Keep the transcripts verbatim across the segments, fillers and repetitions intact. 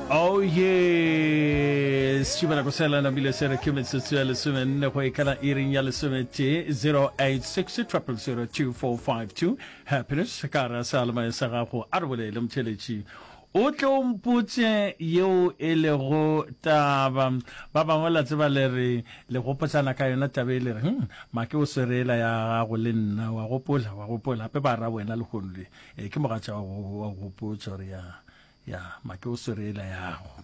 Oh yes, šupa nako sela namile se re ke metsotso ya lesomenne go ikana iring ya lesometee zero eight six triple zero two four five two. Happiness ka gare ga seyalemoya sa gago, a re bolele motheeletši o tle o mpotše yeo e lego taba. Ba bangwe la tseba le re le gopotšana ka yona taba e le re hm make o swere ela ya gago le nna wa gopola wa gopola gape ba ra wena lehono le e ke mogatša wa go wa go gopotša gore ya Ya, make o swere yela yago.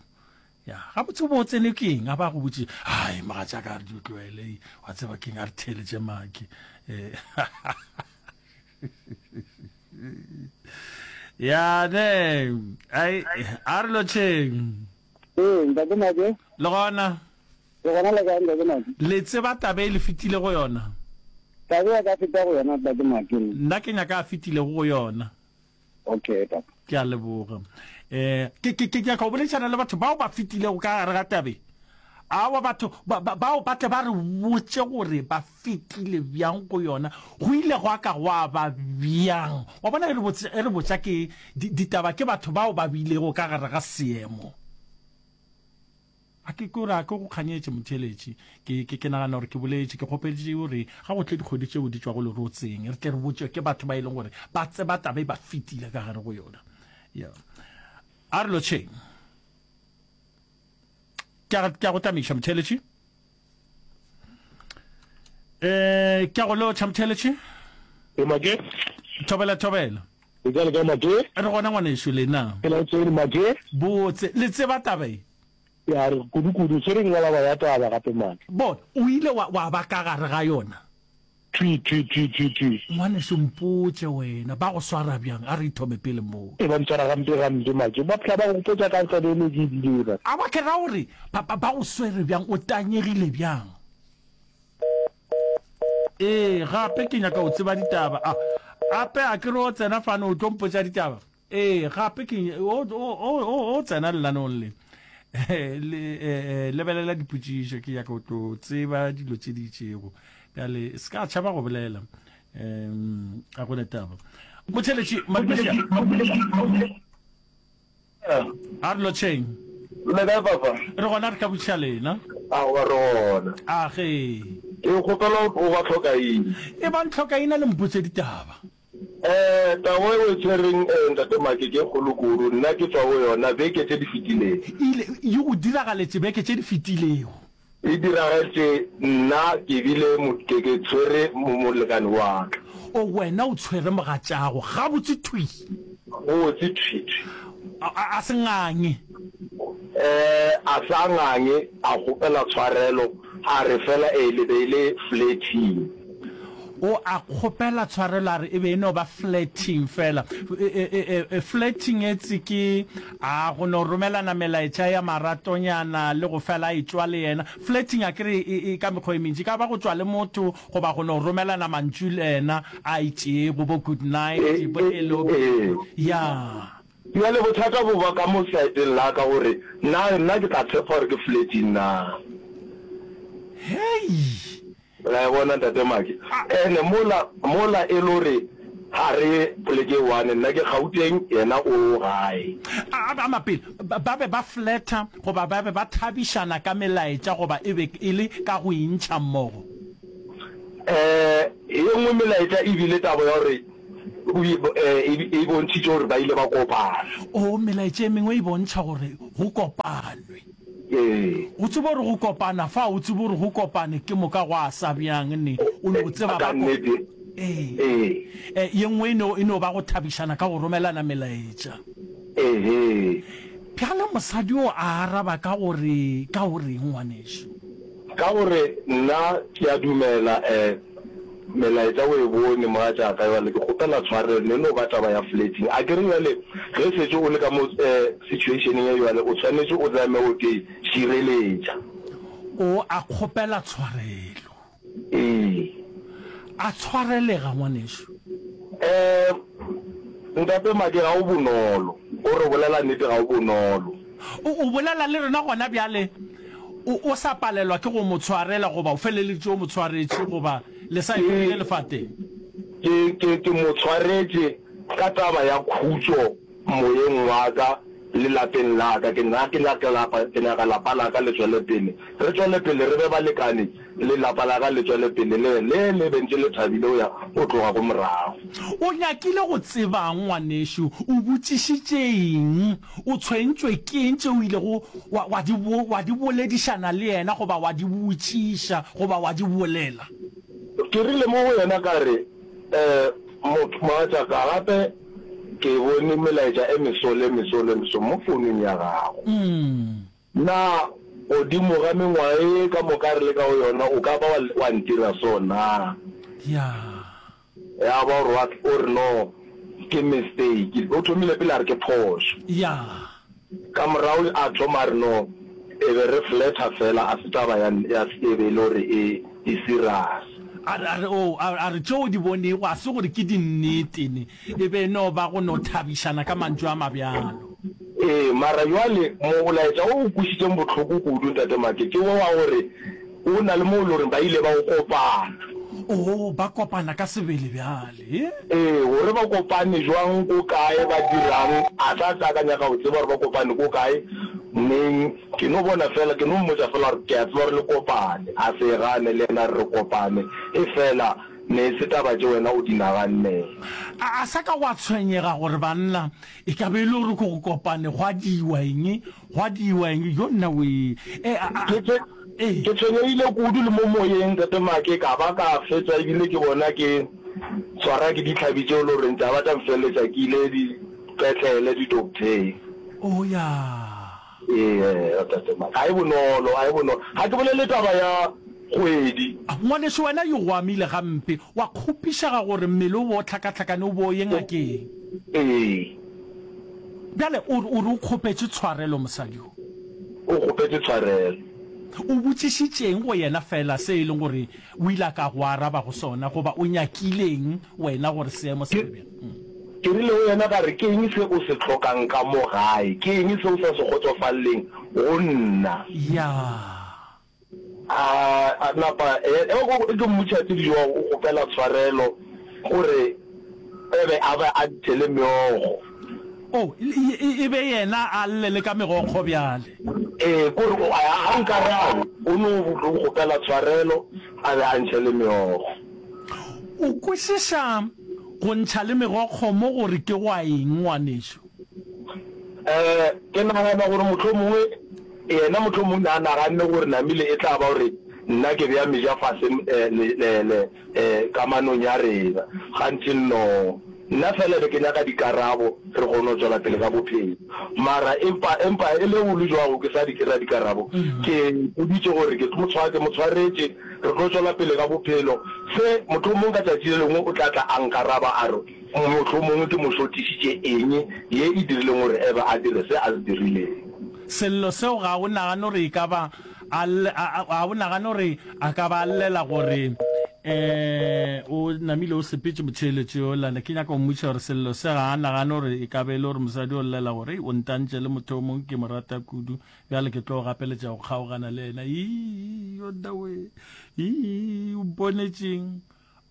Ya, gabotse o bo o tsene ke eng? A ba go botše, ai, mogatšaka a re di tloele, wa tseba ke eng, a re theeletše make. Eh, ya ne, ai, a re lotšheng. Ee, ntate Make. Le gona? Le gona le kae, ntate Make? Le tseba taba e le fetile go yona? Taba ya ka feta go yona, ntate Make. Nna ke nyaka a fetilego go yona. Okay, papa. Ke a leboga. Eh, ke, ke, ke nyaka go boledišana le batho bao ba fetilego ka gare ga tabe. Awa, batho ba, ba, bao ba tle ba re botše gore ba fetile bjang go yona, go ile gwa ka gwa ba bjang. Wa bona, e re botša, e re botša ke di, ditaba ke batho bao ba bilego ka gare ga seemo. A ke kore a ke go kganyetše, motheeletši. Ke, ke, ke nagana gore ke boletše, ke kgopetše gore ga go tle dikgwedi tšeo di tšwago lerotseng, re tle re botšwe ke batho ba e leng gore ba tseba taba e ba fetile ka gare go yona. Ya. A re lotšheng. Ke a, ke a go tamiša, motheeletši. Eh, ke a go lotšha, motheeletši. E make. Thobela, thobela. Le kae, le kae, make? Re gona, ngwanešu, lena. Ke la tsene, make. Botse. Le tseba taba e? Ya re, Kudu-kudu, tshwereng ngwalaba ya taba gape, man. Bona, o ile wa, wa ba ka gare ga yona. Thwi, thwi, thwi, thwi, thwi. Ngwanešu, mpotše wena, ba go swara bjang? A re ithome pele moo. E, ba ntshwara gampe, gampe, make. Ba phela ba gopotša ka taba e ne ke e bile, man. Aowa, ke ra gore, ba, ba, ba go swere bjang? O tanyegile bjang? Ee, gape ke nyaka go tseba ditaba. A, ape a ke re o tsena fano o tlo mpotša ditaba? Ee, gape ke o, o, o, o, o tsena lenaneong le. Le, eh, lebelela dipotšišo, ke nyaka go tlo tseba dilo tše di itšego. Bjale, se ka tšhaba go bolela. Um, a go ne taba. Motheletši, Madumeša. A re lotšheng. Le kae papa? Re gona re ka botšiša lena. Aowa re gona. A ge. Ke kgopela o ba tlhokaina. E bang tlhokaina le mpotše ditaba. Eh, taba e o e tshwereng eh, Ntate Make ke e kgolo kudu. Nna ke tšwa go yona beke tše di fetilego. E ile, e go diragaletše beke tše di fetilego. E diragetše nna ke bile mo, ke, ke tshwere mo, molekane wa ka. O, wena o tshwere mogatšago gabotse thwi. Gabotse thwi, thwi. A, a, a se ngange. Eh, a sa ngange, a kgopela tshwarelo, a re fela e le be e le flirting. O a kgopela tshwarelo a re e be e no ba flirting fela. E, e, e, flirting etse ke a go no romelana melaetša ya maratonyana le go fela a etšwa le yena. Flirting a ke re e, e ka mekgwa e mentši, e ka ba go tšwa le motho goba go no romelana mantšu le yena a itšego, bo good night, bo hello, ya. Bjale bothata bo ba ka mo saeteng la ka gore na nna ke tla tshepa gore ke flirting na. Hei! La e bona Ntate Maki? Ene mola, mola e le gore ga re poleke e one, nna ke Gauteng, yena o gae. A, a, mapele, ba be ba fletha goba ba be ba thabišana ka melaetša goba e be e le ka go intšha mmogo? Eh, ye nngwe melaetša e bile taba ya gore o, eh, e bontšhitše gore ba ile ba kopana. O, melaetša e mengwe e bontšha gore go kopanwe. Ee. O tsebe gore go kopana fa, o tsebe gore go kopane ke moka gwa sa bjang ne, o no tseba ba ko. Ee. Ee. E, ye nngwe e no, e no ba go thabišana ka go romelana melaetša. Ehe. Bjale mosadi yo a araba ka gore, ka go reng, ngwanešu? Ka gore nna ke a dumela, eh, Melaetša o e bone, mogatšaka, bjale ke kgopela tshwarelo, ne no ba taba ya flirting. A ke re bjale ge šetše o le ka mo situationeng ye bjale, o swanetše o zame go te šireletša. O a kgopela tshwarelo. Ee. A tshwarelega, ngwanešu. Eh, Ntate Maki, ga o bonolo. O re bolela nnete, ga o bonolo. O, o bolela le rena gona bjale, o, o sa palelwa ke go mo tshwarela, goba o feleleditše o mo tshwaretše, goba le sa e fedile lefateng? Ke, ke, ke mo tshwaretše ka taba ya khutšo moyeng wa ka le lapeng la ka. Ke nna ke nyaka lapa, ke nyaka lapa la ka le tšwele pele. Re tšwele pele re be balekane, le lapa la ka le tšwele pele le le le be ntše le thabile go ya go tloga ko morago. O nyakile go tsebang, ngwanešu? O botšišitše eng? O tshwentšwe ke eng tše o ilego wa, wa di, wa di boledišana le yena goba wa di botšiša goba wa di bolela? Ke rile mo go yena ka re, Eh, motho, mogatšaka, gape ke bone melaetša e meso le meso le meso mo founung ya gago. Na godimo ga mengwaga ye ka moka re le ka go yona o ka ba wa, wa ntira so na? Ya. Ya ba o re, wa, o re no, ke mistake. O thomile pele a re ke phošo. Ya. Ka morago a thoma a re no, e be re fletha fela, a se taba ya, ya e be e le gore e, e serious. A re, a re, oh, a, a re tšeo o di bonego a se gore ke dinnete ne, e be e no ba go no thabišana ka mantšu a mabjalo. Ee, mara bjale molaetša wo o kwešitšeng bohloko kudu, Ntate Make, ke wo wa gore o na le mo e le goreng ba ile ba o kopana. Oo, ba kopana ka sebele bjale, he? Ee, gore ba kopane jwang, ko kae, ba dirang, a sa tla ka nyaka go tseba gore ba kopane ko kae, neng. Ke no bona feela, ke no mmotša feela gore ke a tseba gore le kopane. A se e gane, le yena a re re kopane. Efela ne e se taba tše wena o di nagannego. A, a sa ka gwa tshwenyega gore banna e ka be e le gore ko go kopane gwa diwa eng, gwa diwa eng. Jo nna wee! E, a, a, Ke tshwe, ee. ke tshwenyegile kudu le mo moyeng, Tate Make, ka ba ka fetša ebile ke bona ke tshwara ke ditlhabi tšeo e le goreng tša ba tša mfeleletša ke ile dipetlele, didoktheng. Oh, ya. Ee, Tate Mike. Ga e bonolo, ga e bonolo. Ga ke bolele taba ya kgwedi. Ngwanešu, wena yo go amile gampe, wa kgopišega gore mmele o be o hlakahlakane o be o ye ngakeng. Ee. Bjale o re, o re o kgopetše tshwarelo mosadi yo? O kgopetše tshwarelo. O botšišitše'ng go yena feela se e leng gore o ile a ka go araba go sona, goba o nyakileng wena gore seemo se be bjang? Ke rile go yena ka re, Ke eng se o se hlokang ka mo gae? Ke eng se o sa se kgotsofaleleng go nna? Ya. A, a napa, e, e, ke mmotšiša tse dijo, o kgopela tshwarelo gore e be a be a ntšhele meokgo. Oh, e, e, e be yena a lle le ka megokgo bjale. Ee, kore o, a, a nkarabe, o no kgopela tshwarelo a be a ntšhele meokgo. O kwešiša go ntšha le megokgo mo gore ke gwa eng, ngwanešu? Eh, ke nagana gore mohlomongwe yena mohlomongwe ne a naganne gore namile e tla ba gore nna ke bea meja fase eh, le, le, le, eh, kamanong ya rena. Gantši nno. Nna fela be ke nyaka dikarabo re kgone go tšwela pele ka bophelo. Mara empa, empa e le go le jwago ke sa di kry-a dikarabo. Ke ipoditše gore ke tlo mo tshwa, ke mo tshwaretše, re tlo tšwela pele ka bophelo. Se, mohlomong ka tšatši le lengwe o tla tla a nkaraba a re mohlomongwe ke mo šotišitše eng ye e dirileng gore Eva a dire se a se dirileng. Sello seo ga o nagane gore e ka ba a, a, a o nagane gore a ka ba a llela gore um o namile o sepetše motheeletši yola? Ne ke nyaka go mmotšiša gore sello se ga a nagane gore e ka ba e le gore mosadi o llela gore, Ei, o ntantše le motho o mongwe ke mo rata kudu, bjale ke tlo gapeletša go kgaogana le yena. Ii, yo nna we! Ii, o mponetšeng?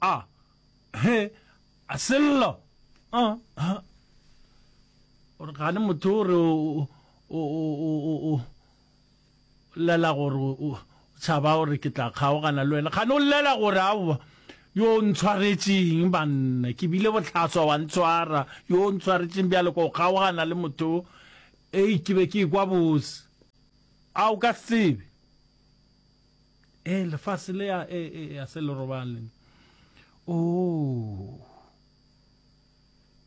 A, he, a sello! A, ha. O re gane motho o re o, o, o, o, o, o llela gore o tšhaba gore ke tla kgaogana le wena. Kgane o llela gore aowa, yo o ntshwaretšeng banna, ke bile bohlaswa wa ntshwara, yo o ntshwaretšeng bjale ko kgaogana le motho, ei ke be ke ekwa bose. A o ka se tsebe. E lefase le a e e a se le robale. Oh.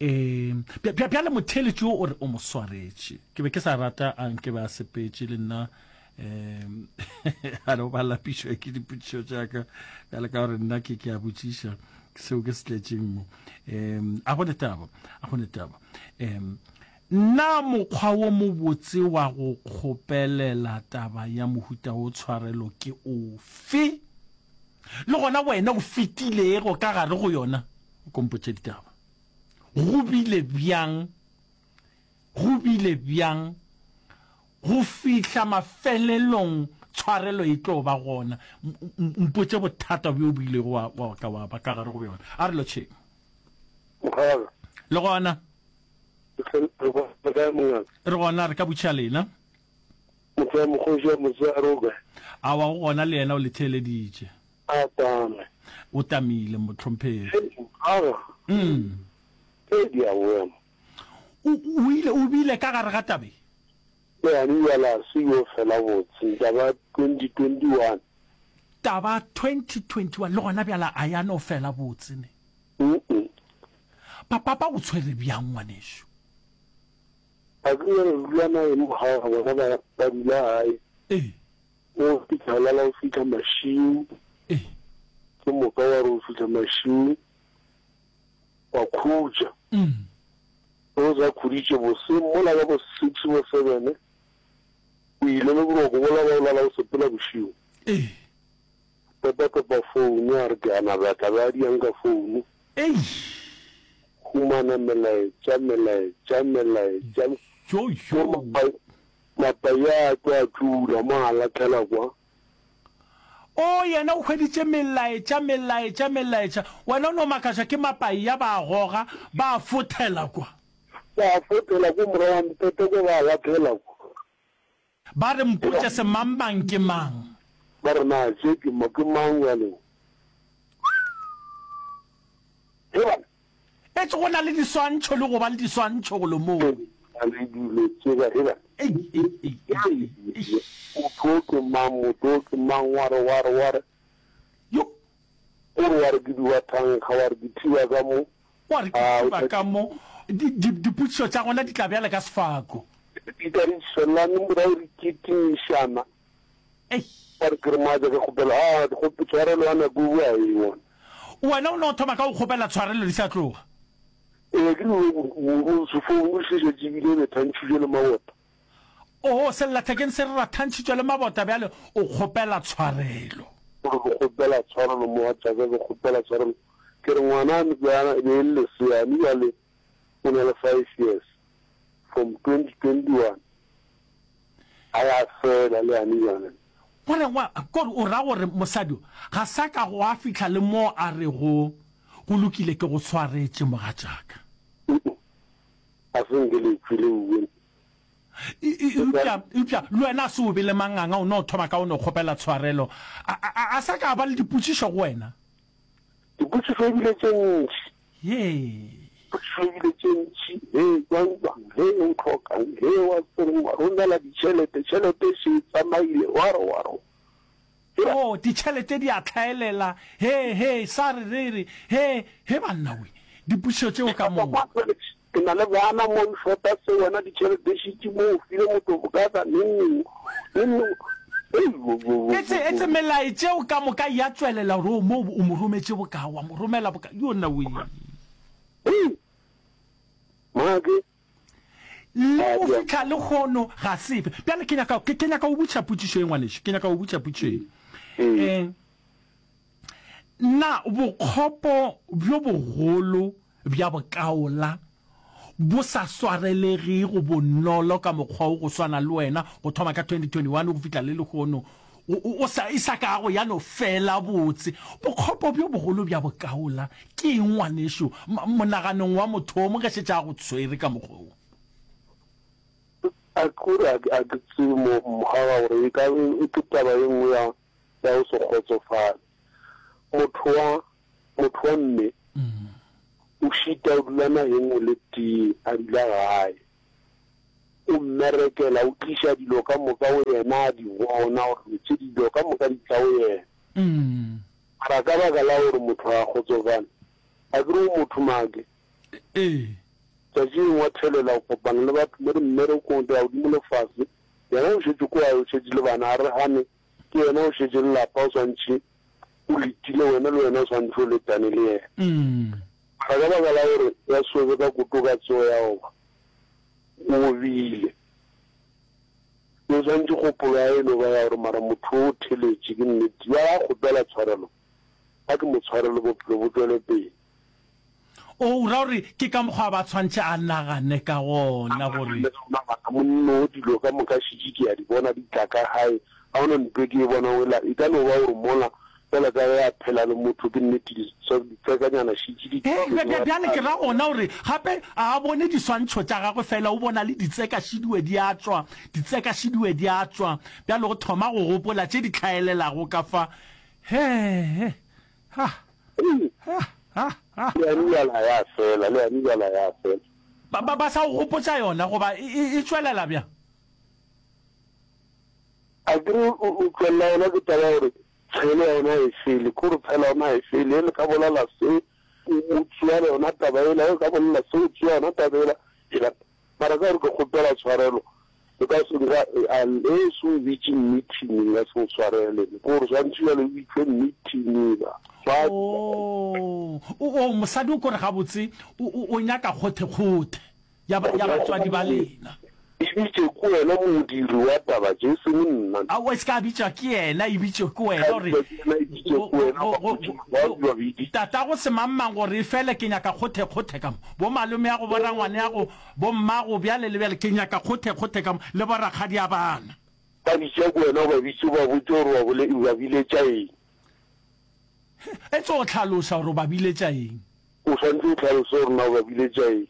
E, bjale motheeletši yo o re o mo swaretše. Ke be ke sa rata a nke be a sepetše le nna um a no ba lapišwa ke dipotšišo tša ka bjale ka gore nna ke ke a botšiša seo ke se tletšeng mo. Um a go ne taba, a go ne taba. Um na mokgwa wo mobotse wa go kgopelela taba ya mohuta wo tshwarelo ke ofe? Le gona wena o fetilego ka gare go yona, o ko mpotše ditaba. Go bile bjang, go bile bjang go fihla mafelelong tshwarelo e tlo ba gona? Mpotše bothata bjo bo ilego wa, wa ka wa ba ka gare go bjona. A re lotšheng. Mokgalabje. Le gona. Re gona kae mongaka? Re gona, re ka botšiša lena. Motho wa mokgoši wa motshegare o kae? Aowa, o gona le yena o le theeleditše. A tame. O tamile, mohlomphegi. Aga. Mm. Ee, di a boya mo. O, o ile, o bile ka gare ga tabe? Le yane bjale a se yo fela botse, taba twenty twenty one. Taba twenty twenty one, le gona bjale a ya no fela botse ne? Mm-mm. Papa ba go tshwere bjang ngwanešu? A ke re dula naye mo gae, bona ba, ba dula gae. Ee. O fihla o lala o fihla mašiu. Ee. Ke moka wa re o fihla mašiu wa khutša. Mm. Ge o sa khuditše boseng mola ka bo six bo seven o ile le boroko bola ba o lala o sepela bošego. Ee. Topa topa founu a re ke a nabja tla be a diang ka founu. Eish. Humana melaetša melaetša melaetša. Jo jo. Mapai a tlo a tšula mo a lahlela kwa. O, yena o hweditše melaetša, melaetša, melaetša. Wena o no makatšwa ke mapai a ba a goga, ba a fothela kwa. Ba a fothela ko morago ga mpete kwa, ba a lahlela kwa. Ba re, Mpotše semangmang ke mang? Ba re, Na tše ke, ke mang bjale? He bana! Etse go na le diswantšho le go ba le diswantšho golo moo. Na le dilo tšela, he bana. Ei, ei, ei, ei, ei. Motho o ke mang, motho o ke mang, wa re, wa re, wa re. Yo. O re wa re ke diwa thankga, wa re ke thiba ka mo. Wa re ke thiba ka mo. Di, di, dipotšišo tša gona di tla bjale ka sefako. Di tla di shelane morago di kitimišana. Ei. Wa re ke re mogatša ke kgopela, a, kgope, tshwarelo ya nako e boa eng gona? Wena o no thoma ka go kgopela tshwarelo di sa tloga. Ee, ke re o, o, sefounu se šetše ebile re thantšhitšwe le mabota. Oo, sellathekeng se re rathantšhitšwe le mabota bjale o kgopela tshwarelo. O re ke kgopela tshwarelo mogatšaka, ke kgopela tshwarelo. Ke re ngwana e be e le lesea mme bjale o na le five years from twenty twenty one a ya fela le yane bjale. Gore wa, kore o ra gore mosadi o ga sa ka gwa fihla le mo a rego go lokile ke go swaretše mogatšaka. Ga se nke le tšwele uwe. Eupša, eupša le wena a se o be le manganga, o no thoma ka o no kgopela tshwarelo. A, a, a sa ka a ba le dipotšišo go wena? Dipotšišo e bile tše ntši. Yee. Dipotšišo e bile tše ntši. He, jwang, jwang, he, o hlokang, he, wa tsereng, wa romela ditšhelete, tšhelete e še e tsamaile, wa re, wa re. Oh, ditšhelete di a hlaelela, he, he, sa re, re re, he, he banna we, dipotšišo tšeo ka moka. Ke na le bana mo, o shota se wena, ditšhelete šetše mo, o file motho bokaka, neng neng, neng neng, hei, bo, bo, bo, Etse, etse melae tšeo ka moka ya tšwelela gore o mo o mo rometše boka, wa mo romela boka, yo nna we. Hei, make. Le go fihla lehono ga se fe. Bjale ke nyaka, ke, ke nyaka go botšiša potšišo ye, ngwanešu. Ke nyaka go botšiša potšišo ye. Eh, na bokgopo bjo bogolo bja bokaola bo sa swarelegego bonolo ka mokgwa wo go swana le wena go thoma ka twenty twenty one go fihla le lehono, o, o, o sa, e sa kago ya no fela botse? Bokgopo bjo bogolo bja bokaola ke eng, ngwanešu, monaganong wa motho o mongwe ge šetše a go tshwere ka mokgwa wo? A ke gore a ke, a ke tsebe mo, mogaga gore e ka e, ke taba ye nngwe ya, ya go se kgotsofale. Motho wa, motho wa mme o šita o dula nageng o le tee, a dula gae. O mmerekela, o tliša dilo ka moka go yena, a di bona gore tše dilo ka moka di tla go yena. Mara ka baka la gore motho ga a kgotsofale, a ke re o motho make. Ee. Tšatši lengwe wa thelela o kopana le batho mo dimmerekong, di ya godimo le fase, yena o šetše ko gae, o šetše le bana, a re gane ke yena o šetše le lapa, o swantšhe o letile wena, le wena o swantšhe o letane le yena. Mara ka baka la gore ya sobe ka koto ka tsogo ya goba o bile, o swantšhe kgopolo ya e no ba ya gore mara motho o theletše ke nnete, bjale a kgopela tshwarelo, a ke mo tshwarele bophelo bo tšwele pele. O ra gore ke ka mokgwa ba tshwantšhe a nagane ka gona gore. Monna o dilo ka moka šetše ke a di bona di tla ka gae, ga gona ntho e ke e bonang ela, e ka no ba gore mola Fela ka ge a phela le motho ke nnete ditsekanyana šetše di Ee, bja, bja, bjale ke ra gona gore gape a a bone diswantšho tša gagwe fela o bona le ditseka šidiwe di a tšwa, ditseka šidiwe di a tšwa. Bjale o thoma go gopola tše di hlaelelago ka fa. He, ha, ha, ha, ha. Le yane bjala ya fela, le yane bjala ya fela. Ba, ba, ba sa go gopotša yona goba e, e, e tšwelela bjang? Akere o, o tšwelela yona ke taba ya gore Tshelo ya yona ga e fele, ke gore tshelo ya yona ga e fele. Ge le ka bolela se, o, o tšea yona taba yela, ge o ka bolela se, o tšea yona taba yela, yela. Mara ka gore ke kgopela tshwarelo, o ka se nka, a, ge o se o bitše meeting, nka se go tshwarele. Ke gore swantše bjale o bitšwe meeting, ba, ba. Oo, o, o, mosadi o kore gabotse o, o, o nyaka kgothekgothe. ya, ba, ya batswadi ba lena. E bitše ke wena modiri wa taba tše, e seng nna. Aowa, e se ka bitšwa ke yena, e bitšwe ke wena, Ka gore bitšwa ke yena, e bitšwe ke wena, go, ba go, botše go, ba go, ba bidi. tatago semangmang gore efele ke nyaka kgothekgothe ka mo, bomalomeago, borangwaneago, bommago, bjale le bjale, ke nyaka kgothekgothe ka mo, le borakgadiabana. Ba bitša ke wena, o ba bitše, o ba botše gore o ba bole, o ba biletša eng. Etse o hlaloša gore o ba biletša eng. O swanetše o hlalose gore na o ba biletša eng.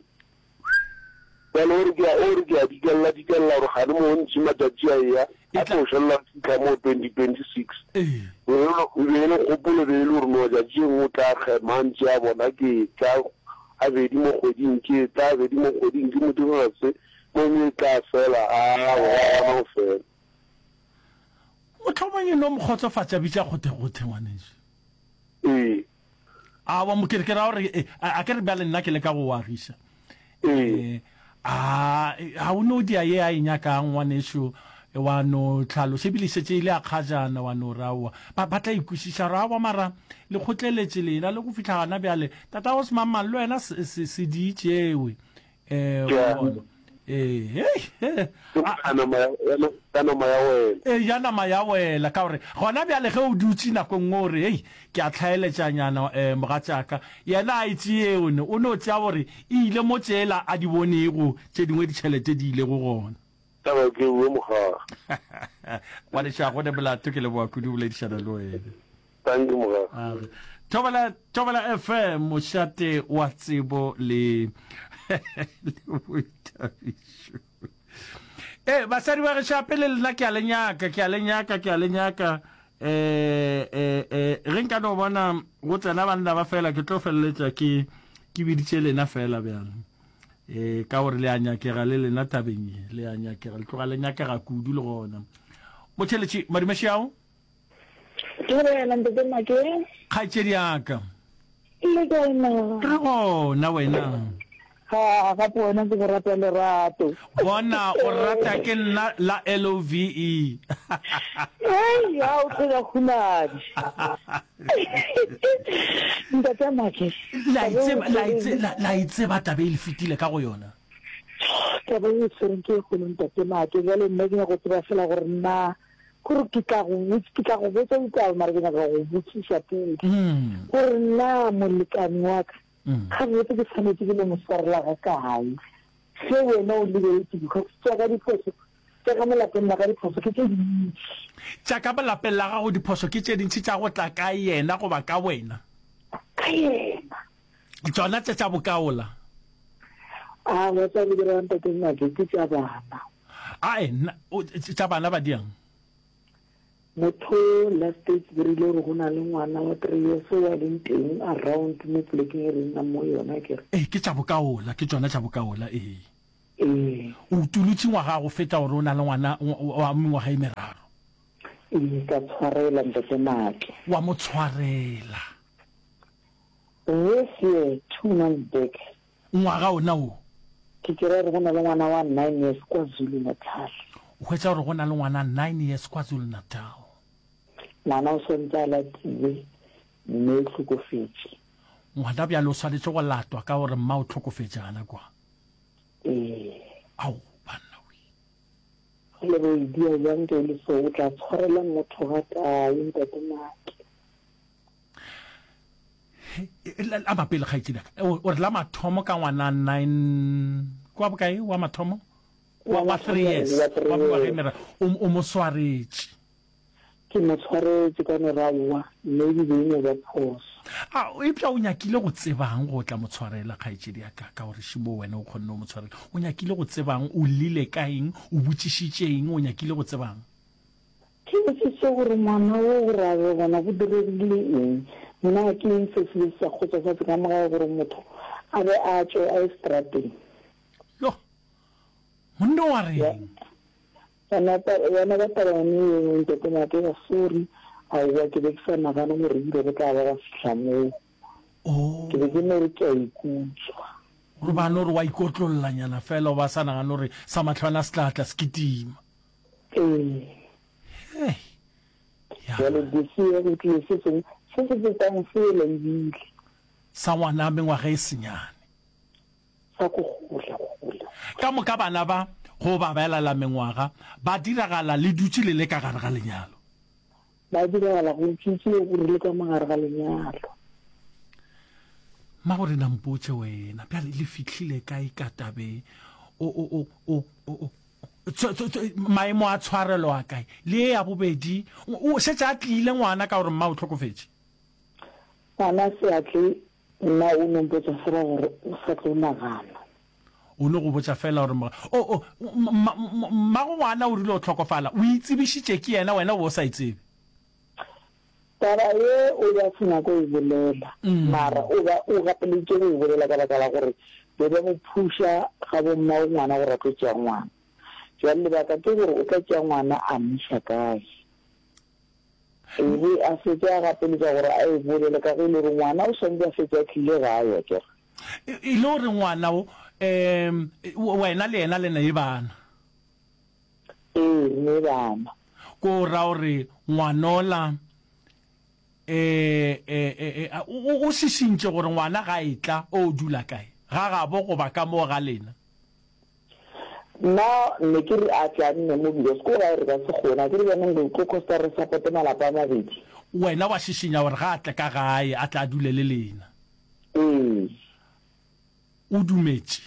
Bjale o re ke a, o re ke a dikella, dikella gore kgane mo ntši matšatši a eya, E a tla. tlo šalela go fihla mo twenty twenty six. Ee. E be e be e le kgopolo e be e le gore no tšatši e nngwe o tla kgema a ntše a bona ke etla gabedi mo kgweding, ke etla gabedi mo kgweding, ke mo direla se, mo nngwe e tla fela, aowa, ga gona go fela. Mohlomong e no mo kgotsofatša, bitša kgothekgothe, ngwanešu. Ee. Aowa, mo ke re, ke ra gore, e, a, a ke re bjale nna ke leka go o agiša. Ee. E, a, ga o no dia ye a e nyakang, ngwanešu, wa no hlaloša, ebile e šetše e le ya kgajana, wa no re aowa. Ba, ba tla e kwešiša gore aowa, mara le kgotleletše lena le go fihla gana bjale. Tatago semangmang le wena se, se, se di tšewe. Ee, Ke wa bona. Ee, hei, he, Ke a, ka nama ya, ya, ka nama ya wela. Ee, ya nama ya wela. Ka gore gona bjale ge o dutše nako e nngwe o re, Hei, ke a hlaeletšanyana, um mogatšaka. Yena a e tšeeone. O no tšea gore e ile mo tšela a di bonego tše dingwe ditšhelete di ilego gona. Taba ke ewe mogaga. Ngwanešu, ga go ne molato, ke leboga kudu go boledišana le wena. Dankie mogaga. A re, Thobela, Thobela F M, mošate wa tsebo le, le boithabišo. Ee, basadi ba gešo, gape le lena ke a le nyaka, ke a le nyaka, ke a le nyaka. Eh, eh, eh, ge nka no bona go tsena banna ba fela, ke tlo feleletša ke, ke biditše lena fela bjale. Eh, ka gore le a nyakega le lena tabeng ye, le a nyakega, le tloga le nyakega kudu le gona. Motheletši, madumeši ao? Dumela ntate Make. Kgaetšedi ya ka. Le kae na? Re gona wena. Ha, gape wena ke go rata lerato. Bona o rata ke nna la L O V E. Hei, ha o tloga khunadi. Ntate Make. La e tseba, la e tseba, la e tseba taba e le fetile ka go yona. Taba e tshwereng ke e kgolo ntate Make. Jwale nna ke nyaka go tseba fela gore na Gore ke tla go botša, ke tla go botša ditaba, mara ke nyaka go botšiša pele. Gore na molekane wa ka, gabotse ke swanetše ke no mo swarela ga kae? Ge wena o lebeletše, because tša ka diphošo, tša ka mo lapeng la ka diphošo ke tše dintši. Tša ka mo lapeng la gago diphošo ke tše dintši tša go tla ka yena goba ka wena? Ka yena. Tšona tše tša bokaola? Aowa, tša go dira ntate Make ke tša bana. Ae, nna, o, tša bana ba diang? Motho last days ke rile gore go na le ngwana wa three years o a leng teng around mo polekeng e re nnang mo yona akere. Ee, ke tša bokaola, ke tšona tša bokaola, ee. Ee. O utolotše ngwaga go feta gore o na le ngwana wa mengwaga e meraro. Ee, ka tshwarela Ntate Maake. Wa mo tshwarela. This year, two months back. Ngwaga ona wo. Ke kry-a gore go na le ngwana wa nine years kwa Zulu Natal. O hwetša gore go na le ngwana nine years kwa Zulu Natal. Ngwana o swantse a latiwe, mme o hlokofetše. Ngwana bjale o swanetše go latwa ka gore mma o hlokofetše gana kwa. Ee. Ao, banna we. Ge le re o e dia bjang ge e le so, o tla tshwarela motho ga kae, Ntate Make? A mapele kgaetšedi ya ka. O re la mathomo ka ngwana nine, ke wa bokae wa mathomo? Wa, wa three years, wa mengwaga e meraro. O, o mo swaretše. Ke mo tshwaretše ka no re aowa, maybe be e no ba phoso. A, eupša o nyakile go tsebang go tla mo tshwarela, kgaetšedi ya ka, ka gore šimo wena o kgonne go mo tshwarela. O nyakile go tsebang? O llile ka eng? O botšišitše eng? O nyakile go tsebang? Ke botšišitše gore ngwana wo gore a be gona go diregile eng? Na ke eng se se be se sa kgotsofatše ka mo gae gore motho a be a tšwe a ye seterateng? Yoh! Monna o a reng? Yona taba, yona ka taba yone yeo, Ntate Makeba, sorry, aowa, ke be ke sa nagane gore ebile go tla ba gwa fihla moo. Oh. Ke be ke no re ke a ikutswa. Gore ba no re wa ikotlollanyana fela, o ba sa nagane gore sa mahlwana se tla tla se kitima. Ee. Hei. Ya. Bjale this year go tlile se sengwe se se fetang sela ebile. Sa ngwana mengwaga e senyane. Sa go gola, go gola. Ka moka bana ba go ba belela mengwaga ba diragala le dutše le le ka gare ga lenyalo. Ba diragala go dutše re le ka mo gare ga lenyalo. Mmagorena mpotše wena bjale le fihlile kae ka tabe o o o o o maemo a tshwarelo a kae le ye ya bobedi o šetše a tlile ngwana ka gore mma o hlokofetše? Ngwana se a tle Nna o no mpotša fela gore o sa tlo nagana. O no go botša fela gore moga. O, o, mma, mmago ngwana o rile o hlokofala, o itsebišitše ke yena, wena o be o sa e tsebe. Taba ye o be a se nyake go e bolela, mara o be o gapeleditše go e bolela ka baka la gore be ba mo phuša ga bo mmago ngwana gore a tlo tšea ngwana. Bjale lebaka ke gore o tla tšea ngwana a mo iša kae? E be a fetše a gapeletša gore a e bolele ka ge e le gore ngwana o swanetše a fetše a tlile gae, akere. E le gore ngwana o, um, wena le yena le ne bana? Ee, re ne bana. Ko ra gore ngwanola, e, e, e, o, o šišintše gore ngwana ga etla o dula kae? Ga gabo goba ka moo ga lena? Nna ne ke re a tle a nne mo because ko gae re ka se kgone akere bjanong go tlo costa re supporte malapa a mabedi. Wena wa šišinya gore ga a tle ka gae a tle a dule le lena. Ee. O dumetše?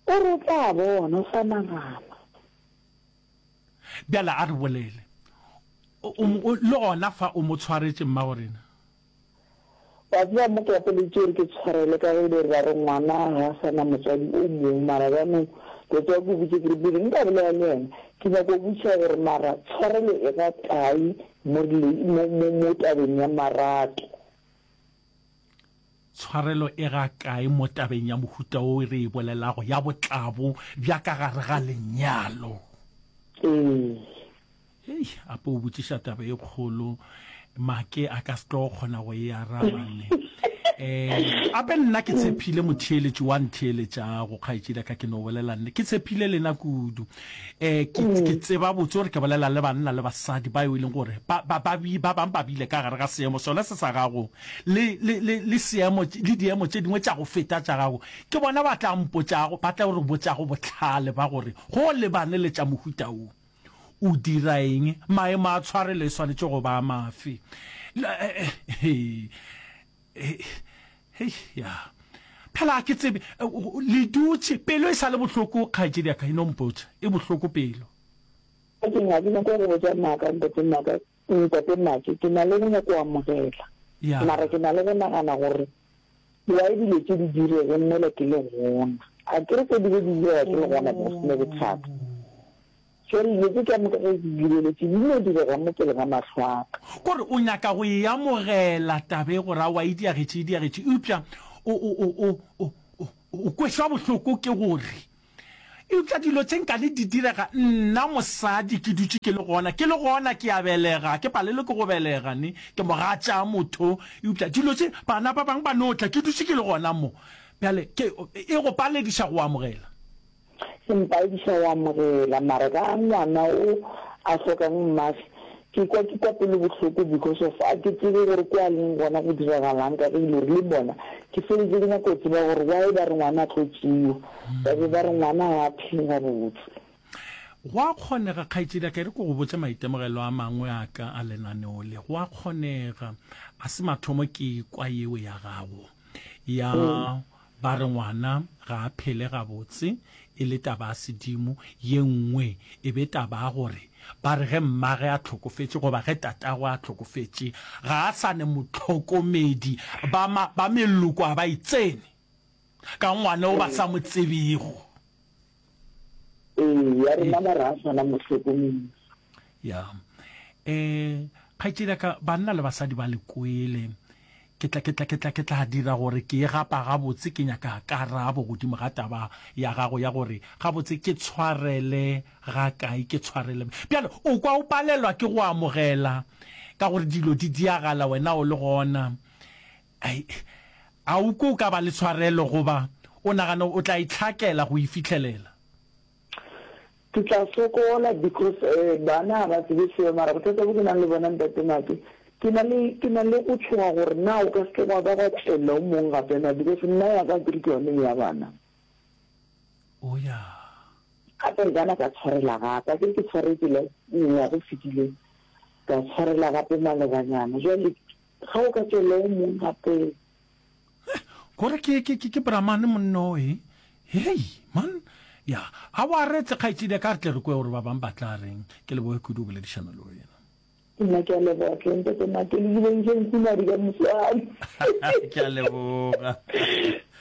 O re o tla bona, o sa nagana. Bjale a re bolele. O, o, le gona fa o mo tshwaretše mmagorena? Wa tseba mo ke gapeleditše gore ke tshwarele ka ge e le gore ba re ngwana ga a sa na motswadi o mongwe mara bjanong ke tseba ke botše ke re pele nka bolela le yena ke nyaka go botšiša gore mara tshwarelo e ga kae mo mo mo mo tabeng ya marato. Tshwarelo e ga kae mo tabeng ya mohuta wo re e bolelago ya botlabo bja ka gare ga lenyalo? Ee. Hei, ape o botšiša taba e kgolo, Make a ka se tlo kgona go e araba ne. Eh, ape nna ke tshephile motheeletši wa ntheeletšago, kgaetšedi ya ka, ke no bolela nne. Ke tshephile lena kudu. Eh, ke, ke tseba botse gore ke bolela le banna le basadi ba e leng gore ba, ba, ba, ba bang ba bile ka gare ga seemo sona se sa gago, le, le, le, le seemo, le diemo tše dingwe tša go feta tša gago. Ke bona ba tla mpotšago, ba tla re botšago bohlale ba gore go lebane le tša mohuta wo. O dira eng? Maemo a tshwarelo e swanetše go ba mafe? Hei, ya. Phela ga ke tsebe. Le dutše, pelo e sa le bohloko, kgaetšedi ya ka, e no mpotša. E bohloko pelo. Ga ke nyake go botša maaka, Ntate Maaka, Ntate Make, ke na le go nyaka go amogela. Ya. Mara ke na le go nagana gore why dilo tše di direge mola ke le gona. Akere tše di be di direga ke le gona, go se ne bothata. Bjale dilo tše ka moka ge ke di lebeletše di no direga mo pele ga mahlo a ka. Kore o nyaka go e amogela taba e gore aowa e diagetše, e diagetše, eupša o, o, o, o, o, o, o kwešwa bohloko ke gore, eupša dilo tše nkane di direga nna mosadi ke dutše ke le gona, ke le gona ke a belega, ke palelwe ke go belega ne, ke mogatša motho, eupša dilo tše bana ba bangwe ba no tla ke dutše ke le gona mo, bjale ke, e go palediša go amogela. Se mpaediša go amogela mara ka ngwana o a hlokang mmage ke kwa ke kwa pelo bohloko because of a ke tsebe gore ko a leng gona go diragalang ka ge e le gore le mona ke feditše ke nyaka go tseba gore why ba re ngwana a tlo tšewa ba be ba re ngwana ga a phele gabotse. Go a kgonega, kgaetšedi ya ka, e re ke go botše maitemogelo a mangwe a ka a lenaneo le. Go a kgonega. A se mathomo ke ekwa yeo ya gago ya Ba re ngwana ga a phele gabotse, e le taba ya sedimo, ye nngwe e be taba ya gore ba re ge mmage a hlokofetše goba ge tatagwe a hlokofetše ga a sa ne mohlokomedi, ba, ma, ba meloko a ba e tsene ka ngwana o ba sa mo tsebego. Ee, ya rena ba re a sa na mohlokomedi. Ya. Eh, kgaetšedi ya ka, banna le basadi ba le kwele. Ke tla, ke tla, ke tla, ke tla dira gore ke e gapa gabotse, ke nyaka karabo godimo ga taba ya gago ya gore gabotse ke tshwarele ga kae, ke tshwarele. Bjale, o kwa o palelwa ke go amogela ka gore dilo di diagala wena o le gona. Ai, a o kwe o ka ba le tshwarelo goba o nagana o tla itlhakela go e fihlelela? Ke tla sokola because eh bana ga ba tsebe selo mara bothata bo ke nang le bona Ntate Make ke na le ke na le go tshoga gore na o ka se ke gwa ba gwa tšwelela o mong gape na because nna ya ka akere ke yone ya bana. Oh ya. Gape re kana ka tshwarela gape akere ke tshwaretše last ngwaga o fetileng ka tshwarela gape malobanyana jwale ga o ka tšwelela o mong gape. Gore ke ke ke ke Brahman monna o e. Hei man. Ya, a wa retse kgaetšedi ya ka re tle re kwe gore ba bang ba tla reng. Ke leboge kudu go boledišana le wena. Nna ke a leboga hle ntate Make le bile ntše nkunadi ka moswane. Ke a leboga.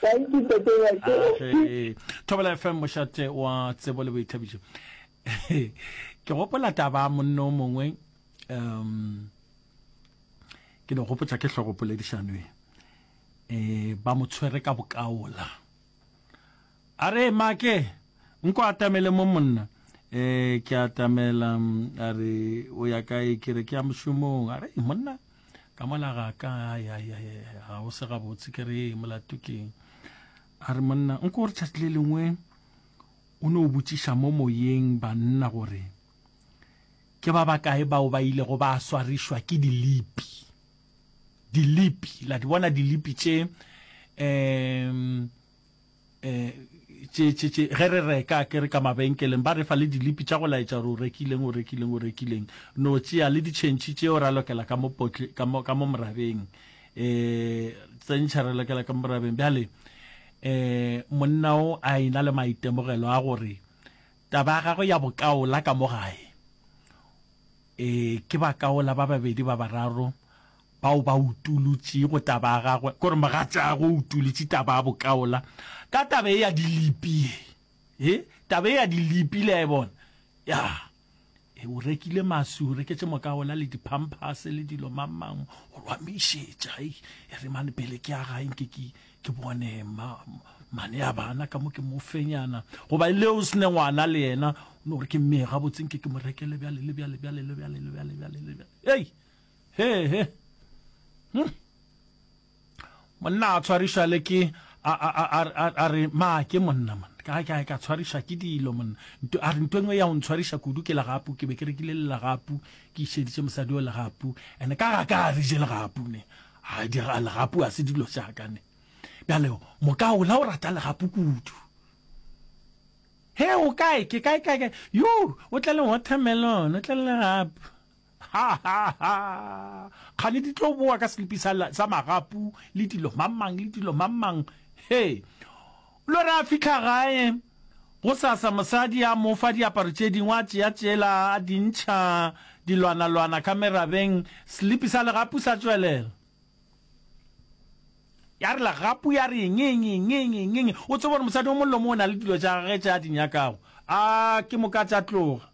Thank you ntate Make. Age. Thobela F M mošate wa tsebo le boithabišo. Ke gopola taba ya monna o mongwe um ke no gopotša ke hlogo poledišano e. Eh ba mo tshwere ka bokaola. A re make nko atamele mo monna. Eh ke atamela a re o ya kae ke re ke ya mošomong. A re monna ka mola ga ka ai ai ai ga o se gabotse ke re molato keng. A re monna nko re tšatši le lengwe o no botšiša mo moyeng banna gore ke ba bakae bao ba ilego ba swarišwa ke dilipi. Dilipi la di bona dilipi tše um eh tše tše tše ge re reka ke re ka mabenkeleng ba re fa le dilipi tša go laetša gore o rekileng o rekileng o rekileng no tšea le ditšhentšhi tšeo ra lokela ka mo potle ka mo ka mo morabeng eh tsentšha re lokela ka mo morabeng bjale eh monna o a ena le maitemogelo a gore taba ya gagwe ya bokaola ka mo gae eh ke bakaola ba babedi ba bararo bao ba utolotšego taba ya gagwe, kore mogatšagwe o utolotše taba ya bokaola ka taba e ya dilipi ye. E, taba e ya dilipi le a e bona? Ya. E, o rekile maswi, o reketše mokaola le diphamphase le dilo mang mang, gore wa mišetša. E, e re mane pele ke ya gae nke ke, ke bone ma, mane ya bana ka mo ke mo fenyana. Goba le o sene ngwana le yena, o no gore ke mme gabotse nke ke mo rekele bjale le bjale bjale le bjale le bjale bjale le bjale. Ei! He he. Hm. Monna a tshwarišwa le ke a a a a a re ma ke monna monna ka ka ka tshwarišwa ke dilo monna nto a re nto engwe ya go ntshwariša kudu ke legapu ke be ke rekile le legapu ke išeditše mosadi o legapu ene ka ga ka re je legapu ne a di legapu a se dilo tša ka ne bjale mokaola o rata legapu kudu he o kae ke kae kae kae yo o tle le watermelon o tle le legapu Ha, ha, ha! Kgane di tlo boa ka selipi sa, sa magapu le dilo mang-mang le dilo mang-mang. He! Lo re a fihla gae, gosasa mosadi a mo fa diaparo tše dingwe, a tšea tšela a di ntšha dilwana-lwana ka merabeng, selipi sa legapu sa tšwelela. Ya re legapu ya re ngenge, ngenge, ngenge. O tsebe gore mosadi o molomo o na le dilo tša gagwe tše a di nyakago. A ke moka tša tloga.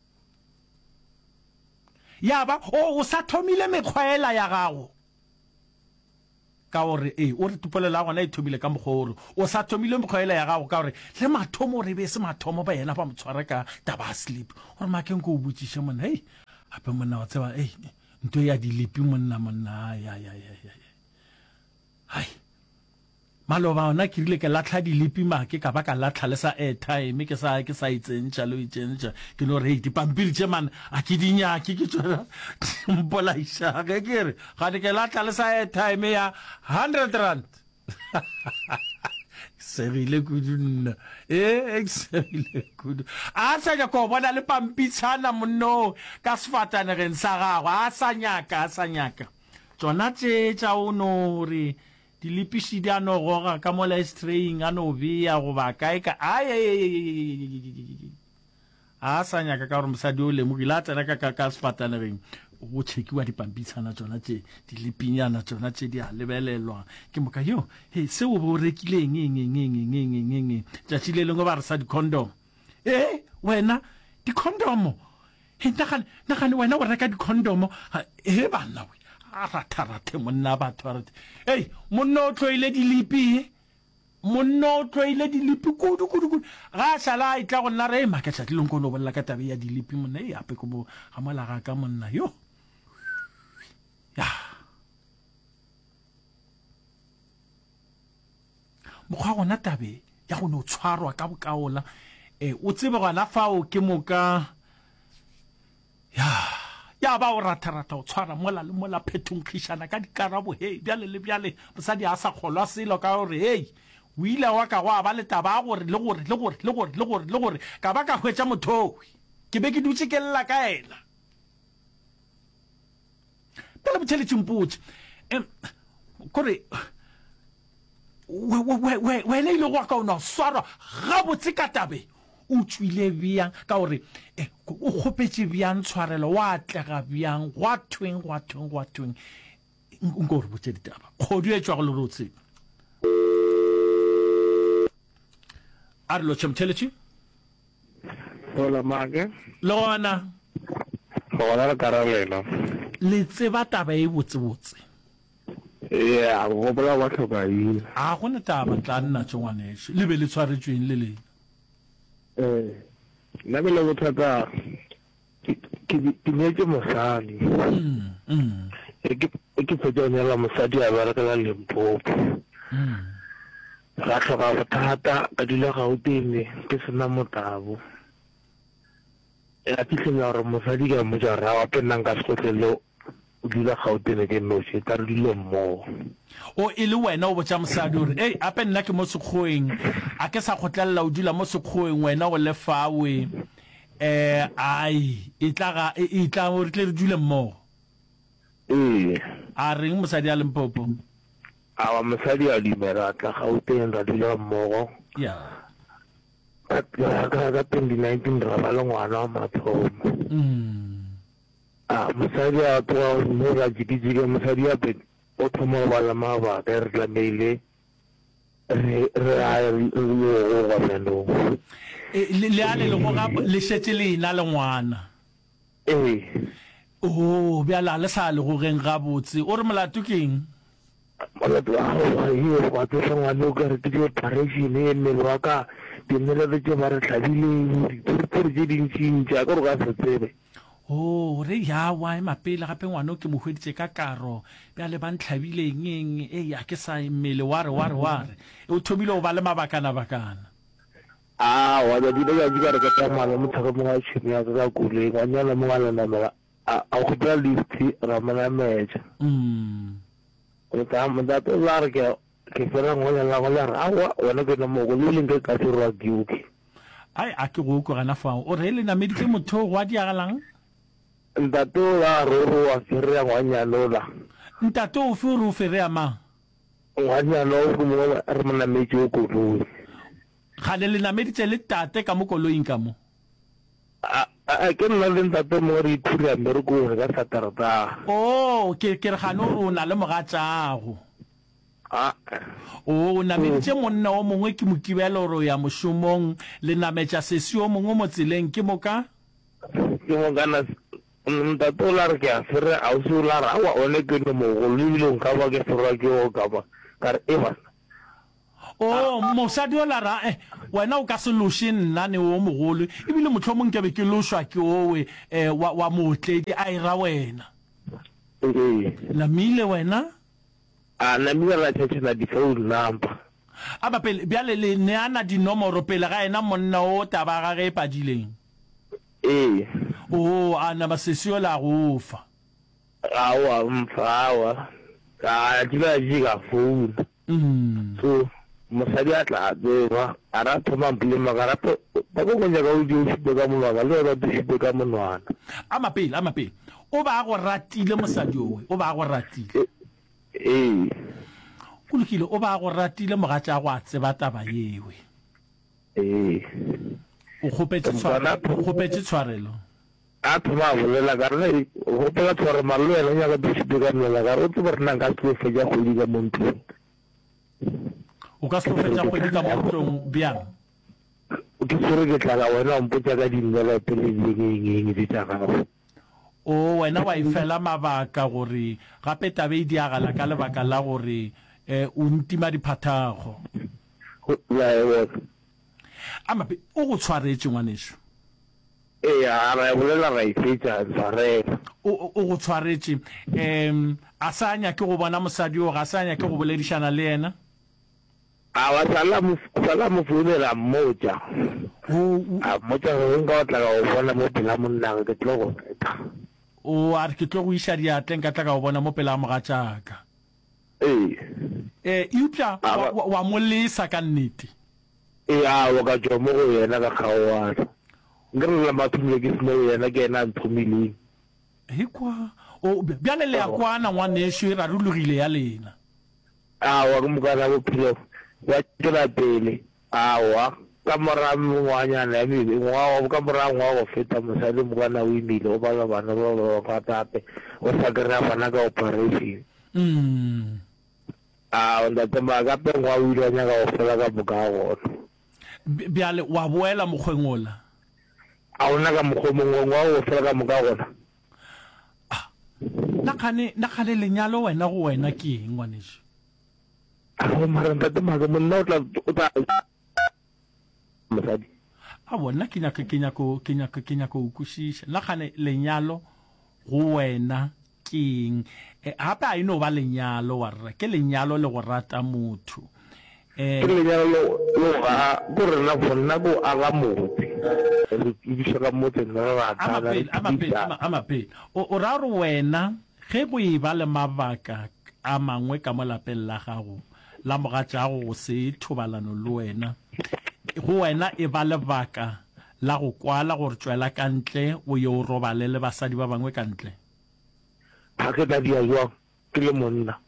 Ya ba, o, o sa thomile mekgwa yela ya gago. Ka gore, ee, o re polelo ya gona e thomile ka mokgwa o re, o sa thomile mekgwa yela ya gago, ka gore le mathomo o re e be e se mathomo ba yena ba mo tshwara ka taba ya sleep. O re, Make nko o botšiše monna, hei, gape monna wa tseba, hei, nto ya dilipi monna, monna, ai, ai, ai, ai, ai. Hai. Maloba ona ke rile ke lahla dilipi make ka ba ka lahla le sa airtime ke sa ke sa e tsentšha le o e tsentšha ke no re hei dipampiri tše man a ke di nyake ke tšona mpolaiša ge ke re gane ke lahla le sa airtime ya hundred rand segile kudu nna ee ke segile kudu a sa nyaka go bona le pampitshana monno ka sefatanegeng sa gagwe a sa nyaka a sa nyaka tšona tše tša o no re Dilipiši di a no goga ka mola estraying a no bea goba kae ka ai a sa nyaka ka gore mosadi o lemogile a tsena ka ka ka sefatanegeng go tšhekiwa dipampitshana tšona tše dilipinyana tšona tše di a lebelelwa ke moka yo he seo bo rekile eng eng eng eng eng eng eng eng tšatši le lengwe ba re sa di-condom ee wena di-condomo he nagane nagane wena o reka di-condomo he banna we a ratharathe monna batho a rathe ei monna o tloile dilipi monna o tloile dilipi kudu kudu kudu ga a šala a etla go nna re make tšatši leng ko no bolela ka tabe ya dilipi monna e ape ko mo ga mola ga ka monna yo ya mokgwa gona tabe ya go no tshwarwa ka bokaola e o tsebe gona fao ke moka ya ya ba o ratharatha o tshwara mola le mola phethonkgišana ka dikarabo hei bjale le bjale mosadi a sa kgolwa selo ka gore hei o ile wa ka go a ba le taba ya gore le gore le gore le gore le gore le gore ka ba ka hwetša mothowi ke be ke dutše ke lla ka yena pele botheletše mpotše um kore wena ile go ka o no swarwa gabotse ka tabe o tšwile bjang ka gore eh, o kgopetše bjang tshwarelo wa atlega bjang gwa thweng gwa thweng gwa thweng nko re botše ditaba kgodu e tšwago le re o tsebe a re lotšhe motheletši Hola make. Le gona. Gona re karabelo. Le tseba taba e botsebotse. Yeah, go gopola wa tlhokaina. A go ne taba tla nna tše ngwanešu. Le be le tshwaretšweng le lena. Eh, nna ke le bothata ke ke nyetše mosadi. Mm, mm. E ke e ke fetša go nyala mosadi a berekela Limpopo. Mm. Ra hloka bothata ka dula Gauteng ke sena motabo. Ya fihlela gore mosadi ke a mmotša gore aowa gape nna nka se kgotlelele o dula Gauteng ke noši, tla re dule mmogo. O e le wena o botša mosadi o re, Ei, ape nna ke mo Sekgoweng, a ke sa kgotlelela o dula mo Sekgoweng wena o le fawe. Eh, ai, etla ga, etla re tle re dule mmogo. Ee. A reng mosadi a Limpopo? Aowa, mosadi a dumela, a tla Gauteng ra dula mmogo. Ya. Ka, ka, ka, ka twenty nineteen ra ba le ngwana wa mathomo. Mm. A mosadi a tloga mo ra jikijika, mosadi gape o thoma go ba le mabaka, re tlamehile re re a re yo goga bjanong. E, le, le a le le goga, le šetše le ena le ngwana. Ee. Oo, bjale a le sa le gogeng gabotse. O re molato ke eng? Molato wa gago ye wa tsoša ngwane o ka re ke di-operation, mmele wa ka, dinelete tše ba re hlabileng, dipurupuru tše dintšintši, a ke re o ka se tsebe. Oo, re yawa, ema pele, gape ngwane o ke mo hweditše ka karo, bjale ba ntlhabile eng eng, ei, a ke sa, mmele wa re, wa re, wa re. O thomile go ba le mabakanabakana. Aowa, tšatši le tšatši ka re ke tsamaya le motho mongwe wa tšhemo ya ka ka koloi, ngwanyana mongwe a le namela, a, a kgopela lift, ra mo nametša. Mota, motate o la re ke, ke fela ngwanyana la la re, aowa, wena ke no mo koloi le nke ka ferwa ke oke. Ai, a ke go kwe gana fao. O re le nameditše motho gwa diagalang? Ntate o la re o re wa ferea ngwanyana ola. Ntate ofe o re o ferea mang? Ngwanyana o mongwe re mo nametše koloi. Kgale le nameditše le tate ka mo koloing ka mo? A, a, ke nna le ntate mongwe re iphura mmerekong ka Saterdag. Oo, ke, ke re gane o re o na le mogatšago. A. Oo, o nameditše monna o mongwe ke Mokibelo o re o ya mošomong, le nametša sesi o mongwe mo tseleng, ke moka? Ke moka na, ntate o la re ke a fere, ausi o la re aowa one ke no mogolo ebile nka ba ke ferwa ke o ka ba, ka re e bana. Oo, mosadi yola ra, eh, wena o ka se loše nna ne o mogolo, ebile mohlomong nke be ke lošwa ke owe, eh, wa, wa mootledi, a e ra wena. Ee. Namile wena? A namile ra tšhetšhana di-phone number. A ba pele, bjale le neana dinomoro pele ga yena monna o taba ya gage e padileng? Ee. Oo, a nama sesi yola a go fa. Aowa, mpha, aowa. Ka tšila tše ka founa. So mosadi a tla a tseba, a re a thoma a mpolema ka rape, ba ko nyaka o je o šupe ka monwana, le wena o te šupe ka monwana. Ama pele, ama pele. O ba a go ratile mosadi owe, o ba a go ratile. Ee. Go lokile, o ba a go ratile mogatšago a tseba taba yewe. Ee. O kgopetše tshwarelo, o kgopetše tshwarelo. A thoma a bolela ka re, O kgopela tshwarelo mara le wena o nyaka ke šupe ka monwana ka re o tsebe gore nna nka se tlo fetša kgwedi ka mo ntlong. O ka se tlo fetša kgwedi ka mo ntlong bjang? Ke swere ke tlala wena o mpotša ka dinnelope le eng eng eng tše tša gago. O, wena wa e fela mabaka gore gape taba e diagala ka lebaka la gore o ntima diphathago. La e bona. A mabe, o go tshwaretše ngwanešu. Eya, ra e bolela ra e fetša, ntshwarela. O, o go tshwaretše. Um, a sa nyake go bona mosadi yoo, ga sa nyake go boledišana le yena? Aowa, sala mo, sala mo founela a mmotša. O, o. A mmotša gore nka o tla ka go bona mo pela monnage, ke tlo go betha. O, a re ke tlo go iša diatleng ka tla ka go bona mo pela mogatšaka. Ee. Ee, eupša A wa, ba. wa, wa mo lesa ka nnete. Ee, aowa, ka tšwa mo go yena ka kgaoana. Nkere le la mathomo ke se mo go yena, ke yena a nthomileng. Ekwa. O, bjale le a kwana, ngwanešu, e rarologile ya lena. Aowa, ke mokana bophelo bja tšwela pele. Aowa, ka mora mengwaganyana ya mebe, ngwaga, ka mora ngwaga go feta, mosadi mokana o imile, o bala bana ba ba gape gape, o sa kry-a bana ka operation. Aowa, ntate Maka, gape ngwaga o ile wa nyaka go fela ka moka ga gona. Bjale wa boela mokgweng wola? A gona ka mokgwa o mongwe, ngwaga o fela ka moka gona. Ah, na kgane, na kgane lenyalo wena go wena ke eng, ngwanešu? Aowa, mara ntate Maka, monna o tla, o tla mosadi. Aowa, nna ke nyaka, ke nyako, ke nyako, ke nyako o kwešiša. Na kgane lenyalo go wena ke eng? E, gape a e no ba lenyalo, warra, ke lenyalo le go rata motho. Ke lenyalo le go aga, ko rena for nna ko aga motse, re tudiša ka motseng, re ratana, re phedišana. A mapele, o, o ra gore wena ge go e ba le mabaka a mangwe ka mo lapeng la gago, la mogatšago go se thobalano le wena, go wena e ba lebaka la go kwala gore tšwela ka ntle o ye o robale le basadi ba bangwe ka ntle? Ga ke tla dia jwang ke le monna?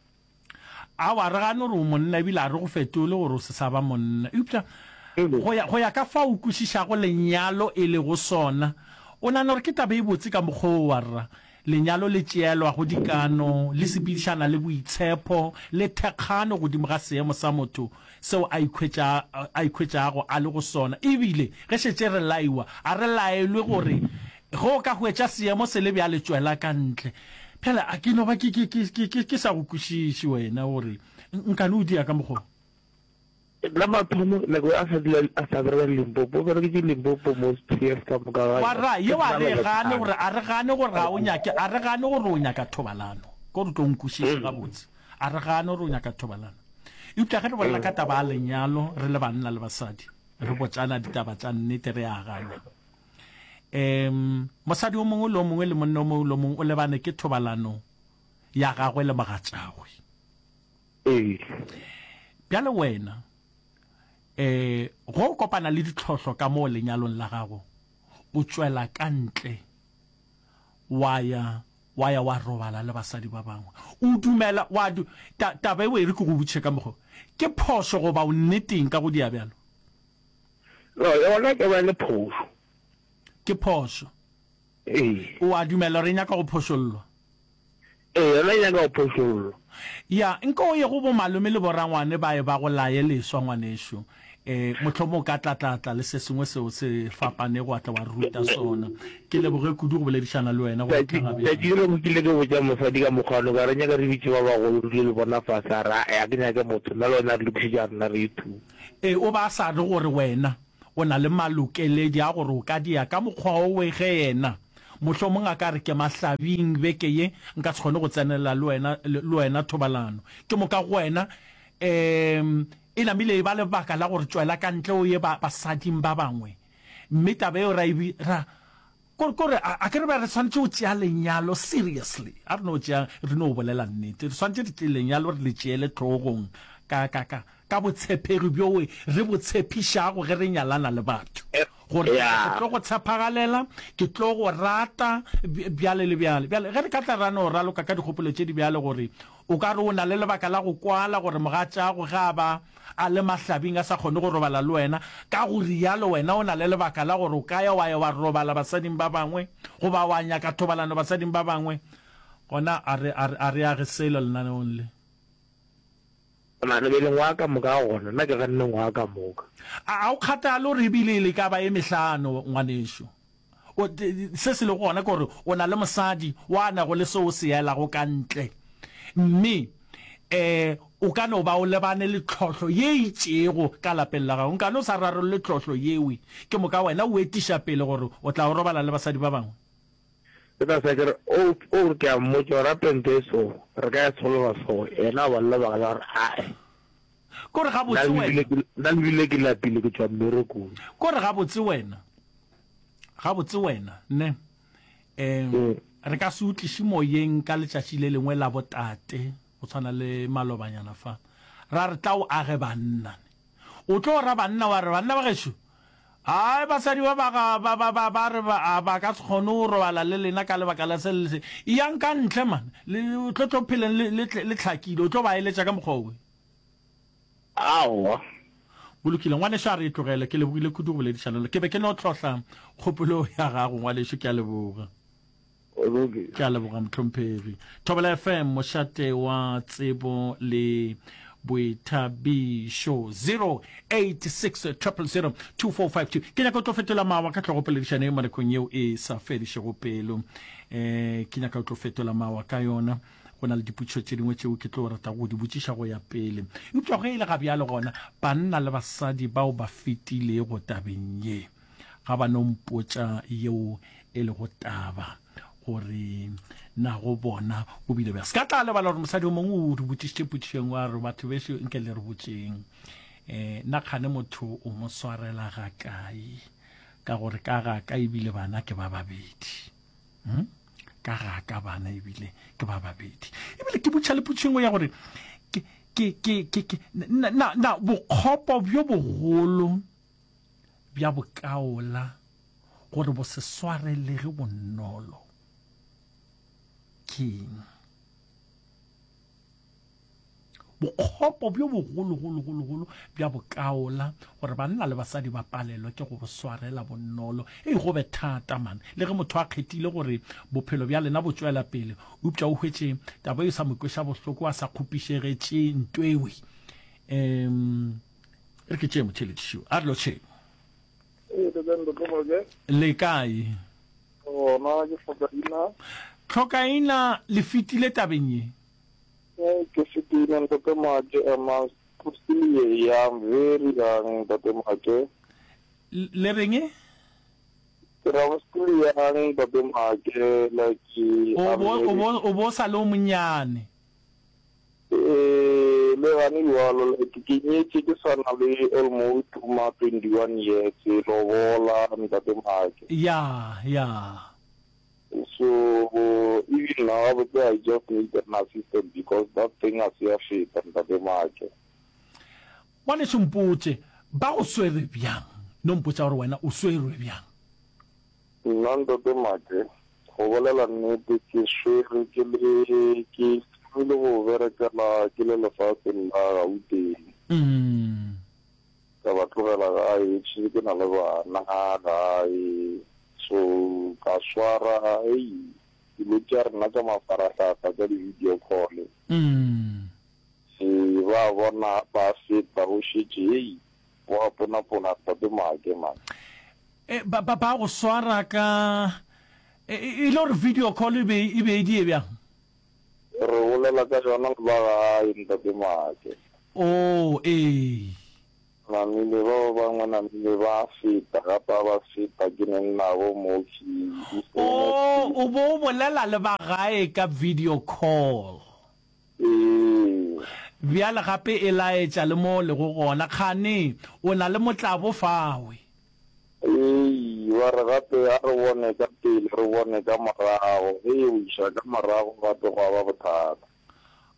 Aowa, re gane gore o monna ebile a re go fetole gore o se sa ba monna. Eupša go ya, go ya ka fao o kwešišago lenyalo e lego sona, o nagana gore ke taba e botse ka mokgwa wo, warra? Lenyalo le tšeelwago dikano, le sepedišana le boitshepo le thekgano godimo ga seemo sa motho seo a ikhwetša, a ikhwetšago a le go sona. Ebile ge šetše re laiwa, a re laelwe gore ge o ka hwetša seemo se le bjale tšwela ka ntle. Bjale a ke no ba ke, ke, ke, ke, ke, ke sa go kwešiše wena gore nkane o dia ka mokgwa wo. La mathomo nako a sa dula a sa bereka Limpopo, o bereketše Limpopo most years ka moka ga Wa yona. ra, Ke yeo a nna re e le gane lethabo. gore, a re gane gore ga o nyake, a re gane gore o nyaka thobalano. Ke gore o tlo nkwešiše gabotse. A re gane gore o nyaka thobalano. Eupša ge re bolela ka taba ya lenyalo re le banna le basadi, re botšana ditaba tša nnete, re agana. Um mosadi o mongwe le o mongwe le monna o mongwe le o mongwe o lebane ke thobalano ya gagwe le mogatšagwe. Ee. Bjale wena, um ge o kopana le ditlhohlo ka moo lenyalong la gago, o tšwela ka ntle wa ya wa ya wa robala le basadi ba bangwe. O dumela wa du, ta, taba eo e re ke go botšiše ka mokgwa, ke phošo goba o nneteng ka go dia bjalo? No, yona ke ba le phošo. Ke phošo. Ee. O a dumela gore e nyaka go phošollwa? Ee, yona e nyaka go phošollwa. Ya, nka o ye go bomalome le borangwane ba ye ba go laye leswa, ngwanešu. E, mohlomong o ka tla, tla, tla le se sengwe seo se fapanego wa tla wa re ruta sona. Ke leboge kudu go boledišana le wena go Tšatši, fihla ga tšatši bjale. le lengwe ke ile ke botša mosadi ka mokgwa ono, ka re, Nyaka re bitše ba bagolo re dule le bona fase. A re, Ae, ga ke nyake motho, nna le wena re lokišetša rena re two. Ee, o ba a sa re gore wena o na le malokeledi a gore o ka dia ka mokgwa owe ge yena mohlomong a ka re ke mahlabing beke ye nka se kgone go tsenelela le wena, le wena thobalano. Ke moka go wena um e namile e ba lebaka la gore tšwela ka ntle o ye ba, basading ba bangwe. Mme taba yeo ra e bi, ra, Ko, kore, a, a ke re be re swanetše go tšea lenyalo seriously. A re no tšea, re no bolela nnete. Re swanetše re tšee lenyalo re le tšeele hlogong ka, ka, ka, ka botshepegi bjowe re bo tshepišago ge re nyalana le batho. Gore ke tlo go tshepagalela, ke tlo go rata, bjale le bjale. Bjale, ge re ka tla ra no raloka ka dikgopolo tše di bjalo gore o ka re o na le lebaka la go kwala gore mogatšago ge a ba a le mahlabing a sa kgone go robala le wena, ka go rialo wena o na le lebaka la gore o ka ya wa ya wa robala basading ba bangwe goba wa nyaka thobalano basading ba bangwe, gona a re, a re, a re age selo lenaneong le. Nagana bjale ngwaga ka moka ga gona, nna ke ganne ngwaga ka moka. A, a o kgathale gore ebile le ka ba ye mehlano, ngwanešu. O, se se lego gona ke gore o na le mosadi wa nago le seo o se elago ka ntle. Mme, um o ka no ba o lebane le tlhohlo ye e itšego ka lapeng la gago. Nkane o sa rarolle tlhohlo yewe, ke moka wena o etiša pele gore o tla o robala le basadi ba bangwe. Ke tla sa ke re, O, o re ke a mmotša gore gape ntho e so, re ka e solola so, yena a ba le lebaka la gore ae. Ko re gabotse wena. Nna lebile ke lapile ke tšwa mmerekong. Ko re gabotse wena. Gabotse wena, ne. Um, re ka se o tliše moyeng ka letšatši le lengwe la botate, go tshwana le malobanyana fa. Ra re tla o age banna. O tlo ra banna wa re, Banna ba gešo, Hai, basadi ba ba ga ba ba ba ba re ba a ba ka se kgone go robala le lena ka lebaka la se le se. Eyang ka ntle man, le tlo tlo pheleng le le le hlakile. O tlo ba eletša ka mokgwa owe. Aowa. Go lokile, ngwanešu, a re e tlogele. Ke lebogile kudu go boledišana le. Ke be ke no hlohla kgopolo ya gago, ngwanešu. Ke a leboga. Ke a leboga mohlomphegi. Thobela F M, mošate wa tsebo le boithabišo. zero eight six triple zero two four five two. Ke nyaka o tlo fetola mawa ka hlogo poledišano ye mo nakong yeo e sa fedišego pelo. Eh, ke nyaka o tlo fetola mawa ka yona. Go na le dipotšišo tše dingwe tšeo ke tlo ratago go di botšiša go ya pele. Eupša ge e le ga bjale gona, banna le basadi bao ba fetilego tabeng ye, ga ba no mpotša yeo e lego taba, gore na go bona go bile bjang. Se ka tla lebala gore mosadi o mongwe o re botšišitše potšišo e nngwe, a re, Batho bešo, nke le re botšeng, um na kgane motho o mo swarela gakae? Ka gore ka ga ka ebile bana ke ba babedi. Hmm? Ka ga ka bana ebile ke ba babedi. Ebile ke botšha le potšišo e nngwe ya gore, ke, ke, ke, ke, ke, na, na, na bokgopo bjo bogolo bja bokaola gore bo se swarelege bonolo keng? Bokgopo bjo bogologologologolo bja bokaola gore banna le basadi ba palelwe ke go bo swarela bonolo. Ei, go be thata man. Le ge motho a kgethile gore bophelo bja lena bo tšwela pele, eupša o hwetše taba e sa mo kweša bohloko, a sa kgopišegetše ntwewe. Um, re ke tšee motheeletši a re lotšheng. Ee, le kae Ntate Moke? Le kae? Gona ke Tlhokaina. Tlhokaina, le fetile tabeng ye? Ee, ke fetile Ntate Moke. I'm still young, very young Ntate Moke. Le reng? Ke ra I'm still young Ntate Moke, like O bo o bo o bo sa le o monnyane. Ee, le gane bjalo, like ke nyetše ke sa na le almost ma twenty one years, lobola ntate Make. Ya, ya. So even now gabotse I just need an assistant because that thing a se ya feta ntate Make. Ngwanešu mpotše, ba go swere bjang? No mpotša gore wena o swerwe bjang? Nna Ntate Make, go bolela nnete ke swerwe ke le, ke thomile go berekela ke le lefaseng la Gauteng. Ka ba tlogela gae, šetše ke na le bana gae, so ka swara, hei, dilo tša rena tša mafarahlahla tša di-video call. Ee, ba bona ba feta, o šetše, hei, Wa ponapona Tate Make man. E, ba, ba, ba go swara ka, e, e, e le gore video call e be, e be e die bjang? Re bolela ka yona le ba gae Ntate Make. Oh, ee. Namile ba ba bangwe namile ba feta gape a ba feta ke neng nabo mo ke. Oh, o bo o bolela le ba gae ka video call. Ee. Bjale gape e laetša le mo o lego gona. Kgane o na le motlabo fawe? Ei, ba re gape a re bone ka pele, re bone ka morago. Ge e o iša ka morago gape gwa ba bothata.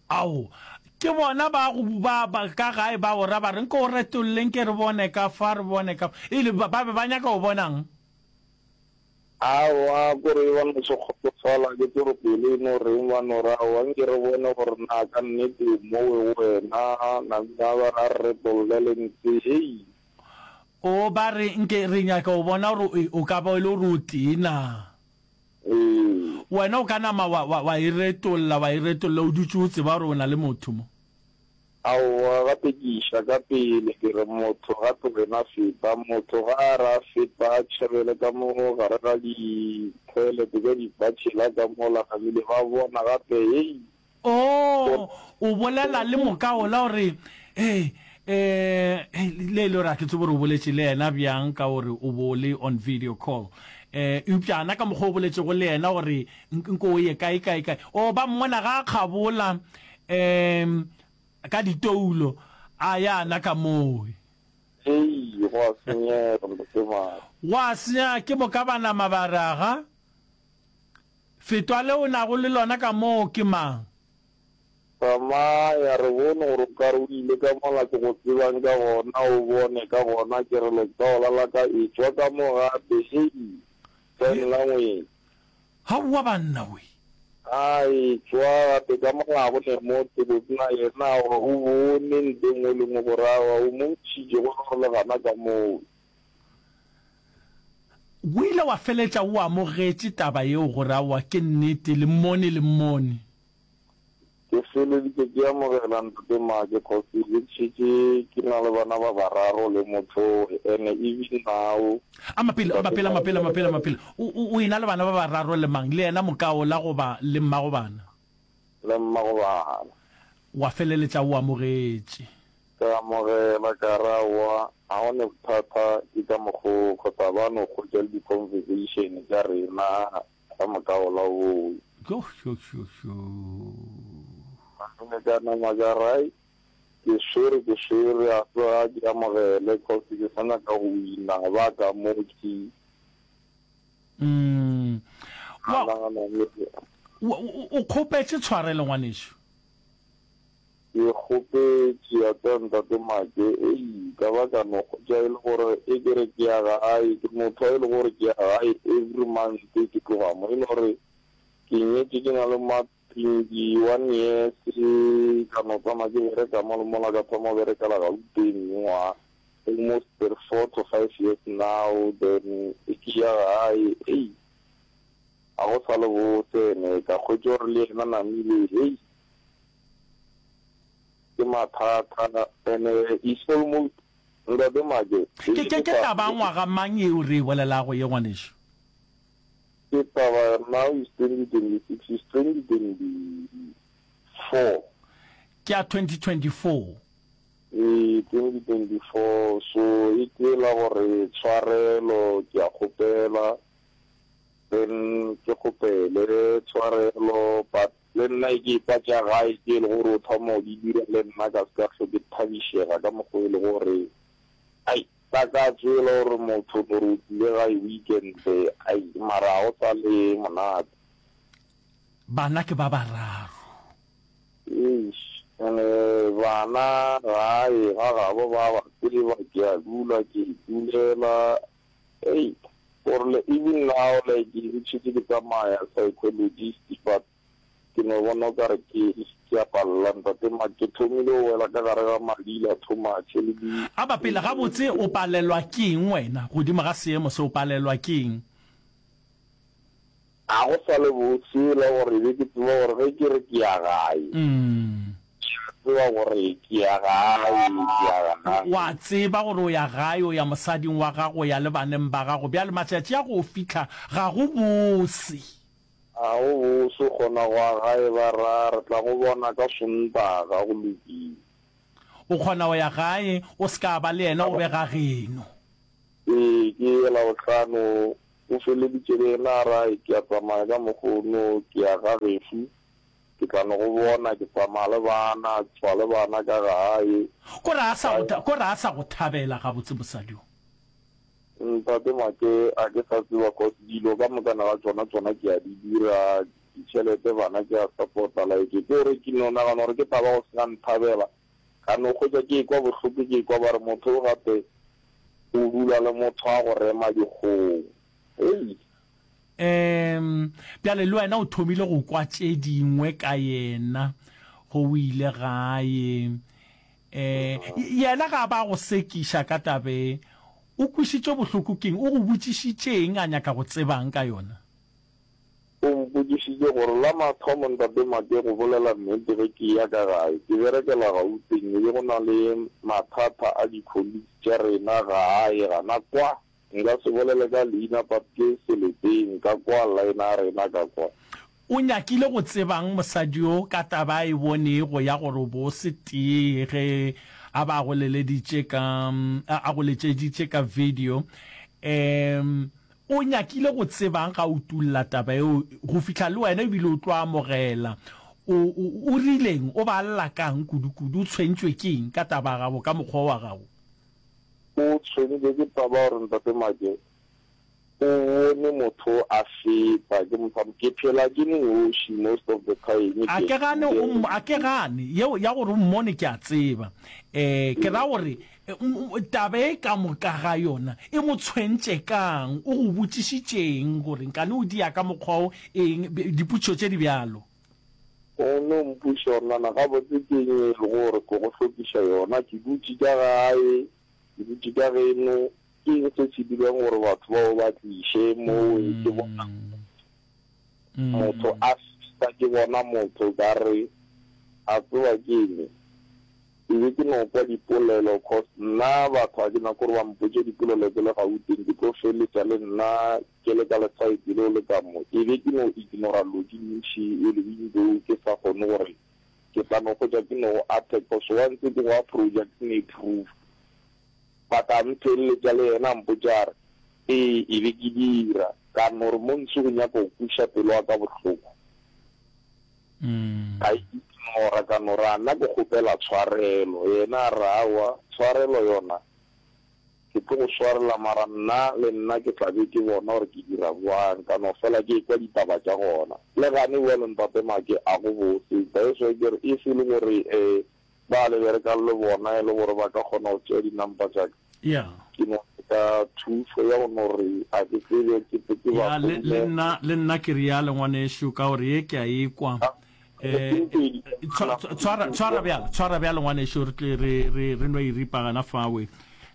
Ao, Ke bona ba go ba, ba ka gae ba o ra ba re, Nko o retolle nke re bone ka fa, re bone ka fa. E le ba, ba be ba nyaka go bona'ng? Aowa, kore ba no se kgotsofala ke tsore pelo e no reng, ba no re, Aowa, nke re bone gore na ka nnete o mowe go wena, namile a ba re a re retolle le ntse, hei. O, ba re, Nke re nyaka go bona gore o, o ka ba e le gore o tee na. Ee. Wena o ka nama wa, wa, wa e retolla, wa e retolla, o dutše o tseba gore o na le motho mo. Aowa, gape ke iša ka pele, ke re motho gape wena feta. Motho ga a re a feta a tšhabele ka mo gare ga di-toilet tša di-bachelor ka mola, namile ba bona gape, hei! Oo, o bolela le mokaola o re, Hei, eh, hei, le e le gore ga ke tsebe gore o boletše le yena bjang ka gore o bo le on video call. Eh, eupša ana ka mokgwa o boletšego le yena gore nko o ye kae, kae, kae. Oo, ba mmona ga a kgabola, um, ka ditoulo, a ya ana ka moo. Hei, go a senyega, Ntate Mare. Go a senyega, ke moka ba nama ba re, Aga, Fetwa le o nago le lona ka moo ke mang? Tsamaya, re bone gore o ka re o ile ka mola ke go tsebang ka gona, o bone ka gona ke re letsogo la ka etšwa ka mo gape, hei, sign language. Aowa banna we. A etšwa gape ka mola ga go ne motho, botse na yena aowa o bone nto e nngwe le nngwe gore aowa o mo ntšhitše go le gore le gana ka moo. O ile wa feletša o amogetše taba yeo gore aowa ke nnete, le mmone le mmone. Ke feleditše ke amogela Ntate Make cause ke šetše ke na le bana ba bararo le motho ene even now. A mapele, a mapele, a mapele, a mapele, a mapele. O, o, o ena le bana ba bararo le mang? Le yena mokaola goba le mmago bana? Le mmago bana. Wa feleletša o amogetše. Ka amogela, ka re, Aowa, ga go ne bothata, ke ka mokgo kgotsa ba no kgotša le di-conversation tša rena ka moka ola owe. Yo, yo, yo, yo. Malome ka nama ka re, Ai, ke swere, ke swere, a tsoga ke amogele cause ke sa nyaka go wina ba ka mo ke. Mm. Wa, o, o kgopetše tshwarelo, ngwanešu? Ke kgopetše ya tseba Ntate Make, ei, ka ba ka no hwetša e le gore e ke re ke ya gae, ke motho wa e le gore ke ya gae every month ke tloga mo, e le gore ke nyetše ke na le ma twenty one years, ka no tsamaya ke bereka mo le mola, ka thoma go berekela Gauteng mengwaga almost four to five years now, then e ke ya gae, ei, ga go sa le bose, ene ka hwetša gore le yena namile, hei. Ke mathata ene is almost Ntate Make. Ke, ke, ke taba ngwaga mang yeo re e bolelago ye, ngwanešu? Ke taba now is twenty twenty six, is twenty twenty four. Ke ya twenty twenty four. Ee, twenty twenty four, so e ke la gore tshwarelo ke a kgopela, then ke kgopele tshwarelo but Le nna e ke ekwa tša gae tše e le gore o thoma go di dira le nna ka se ka hlwe ke thabišega ka mokgwa e le gore ai takatso e le gore motho no re o tlile gae weekend ai mara ga go sa le monate. Bana ke ba bararo. Eish ene bana gae ga gabo ba ba tseba ke a dula ke itulela ei gore le even now like ke šetše ke tsamaya psychologist but ke no bona o kare ke ke a palela ntate ma ke thomile go wela ka gare ga madila too much le di A ba pele gabotse o palelwa ke eng wena godimo ga seemo se o palelwa ke eng? Ga go sa le bose la gore be ke tseba gore ge ke re ke ya gae, ke a tseba gore ke ya gae, ke ya gae. O a tseba gore o ya gae, o ya mosading wa gago, o ya le baneng ba gago. Bjale matšatši a go fihla ga go bose. Ga go bose, o kgona go ya gae ba ra, re tla go bona ka Sontaga, go lokile. O kgona go ya gae, o se ka ba le yena, o be ga geno. Ee, ke Labohlano. O feleditše le yena a re, Ke a tsamaya ka mokgono, ke ya ga gešu, ke tla no go bona, ke tsamaya le bana, tšwa le bana ka gae. Ko re a sa go, ko re a sa go thabela gabotse mosadi o. Ntate Make, a ke sa tseba cause dilo ka mokana ga tšona, tšona ke a di dira, ditšhelete bana ke a support-a like ke gore ke no nagana gore ke taba go sena nthabela ka no hwetša ke ekwa bohloko ke ekwa ba re motho o gape o dula le motho wa go rema dikgong hei. Um bjale le wena o thomile go kwa tše dingwe ka yena go o ile gae. Um yena ga a ba go sekiša ka taba e, o kwešitšwe bohloko ke'ng? O go botšišitše'ng a nyaka go tseba'ng ka yona? O mpotšišitše gore, La mathomo, Ntate Make, go bolela nnete ge ke eya ka gae, ke berekela Gauteng, e be go na le mathata a di-colleagues tša rena gae gana kwa. Nka se bolele ka leina but ke seleteng ka kwa, line ya rena ka kwa. O nyakile go tseba'ng mosadi yo ka taba a e bonego ya gore o be o se tee ge a ba a go leleditše ka, a go letšeditše ka video? Um O nyakile go tseba'ng ga utulla taba yeo go fihla le wena ebile o tlo amogela? O, o, o rile'ng? O ba lla ka'ng kudu-kudu? O tshwentšwe ke eng ka taba ya gago, ka mokgwa wa gago? O tshwentšwe ke taba ya gore Ntate Make o bone motho a feta, ke mo ke phela ke noši most of the time, A ke ke gane o mmo, a ke gane yeo ya gore o mmone ke a tseba. Eh, ke ra gore taba e ka moka ga yona e mo tshwentše ka'ng? O go botšišitše'ng gore nkane o dia ka mokgwa wo, eng, dipotšišo tše di bjalo? O no mpotšiša gore nana gabotse ke eng e lego gore ke go hlokiša yona, ke dutše ka gae, ke dutše ka geno, ke eng se se dirang gore batho bao ba tliše mowe ke bona motho a fihla ke bona motho ka re a tseba ke eng ke be ke no kwa dipolelo cause nna batho ga ke nyake gore ba mpotše dipolelo ke le Gauteng ke tlo feletša le nna ke le ka le-side leo le ka mo e be ke no ignora lo di ntši e le window ke sa kgone gore ke tla no hwetša ke no go attack cause once ke go approacha ke ne proof But a mpheleletša le yena a mpotša a re, Ee, e be ke dira. Ka no re, Montsho o nyaka go kweša pelo ya ka bohloko. Ka e ignora, ka no re, A nna ke kgopela tshwarelo. Yena a re, Aowa, tshwarelo yona ke tlo go swarela mara nna le nna ke tla be ke bona gore ke dira bjang. Ka no fela ke ekwa ditaba tša gona. Le gane bjalo Ntate Make a go bose. That's why ke re if e le gore um Ba le berekang le bona e le gore ba ka kgona go tšea di-number tša ka. Yeah. Ke no nyaka thušo ya go no re a ke tsebe ke tle ke ba Ya, le, le founele. nna, le nna ke realo ngwanešu, ka gore ye ke a e kwa. Ah, Eh, ke pedi tshwa- tshwa- tshwara, tshwara bjalo, tshwara bjalo ngwanešu, re tle re, re, re no e ripa gana fawe.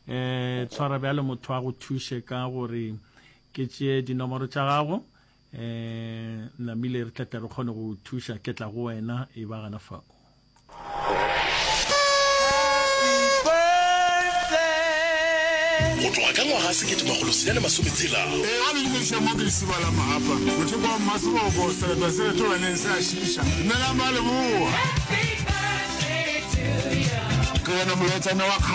Eh, tshwara bjalo motho a go thuše ka gore ke tšee dinomoro tša gago. Eh, namile re tla tle re kgone go thuša, ke tla go wena e ba gana fao. Go tloga ka ngwaga sekete makgolo senyane masome tshela. Ee, ga le dumediša mo ke lesiba la Mahapa, mothoko wa Mmaseboko, sereto se reto baneng se a šiiša. Dumelang ba Leboa. Ke wena molaetšana wa kgale.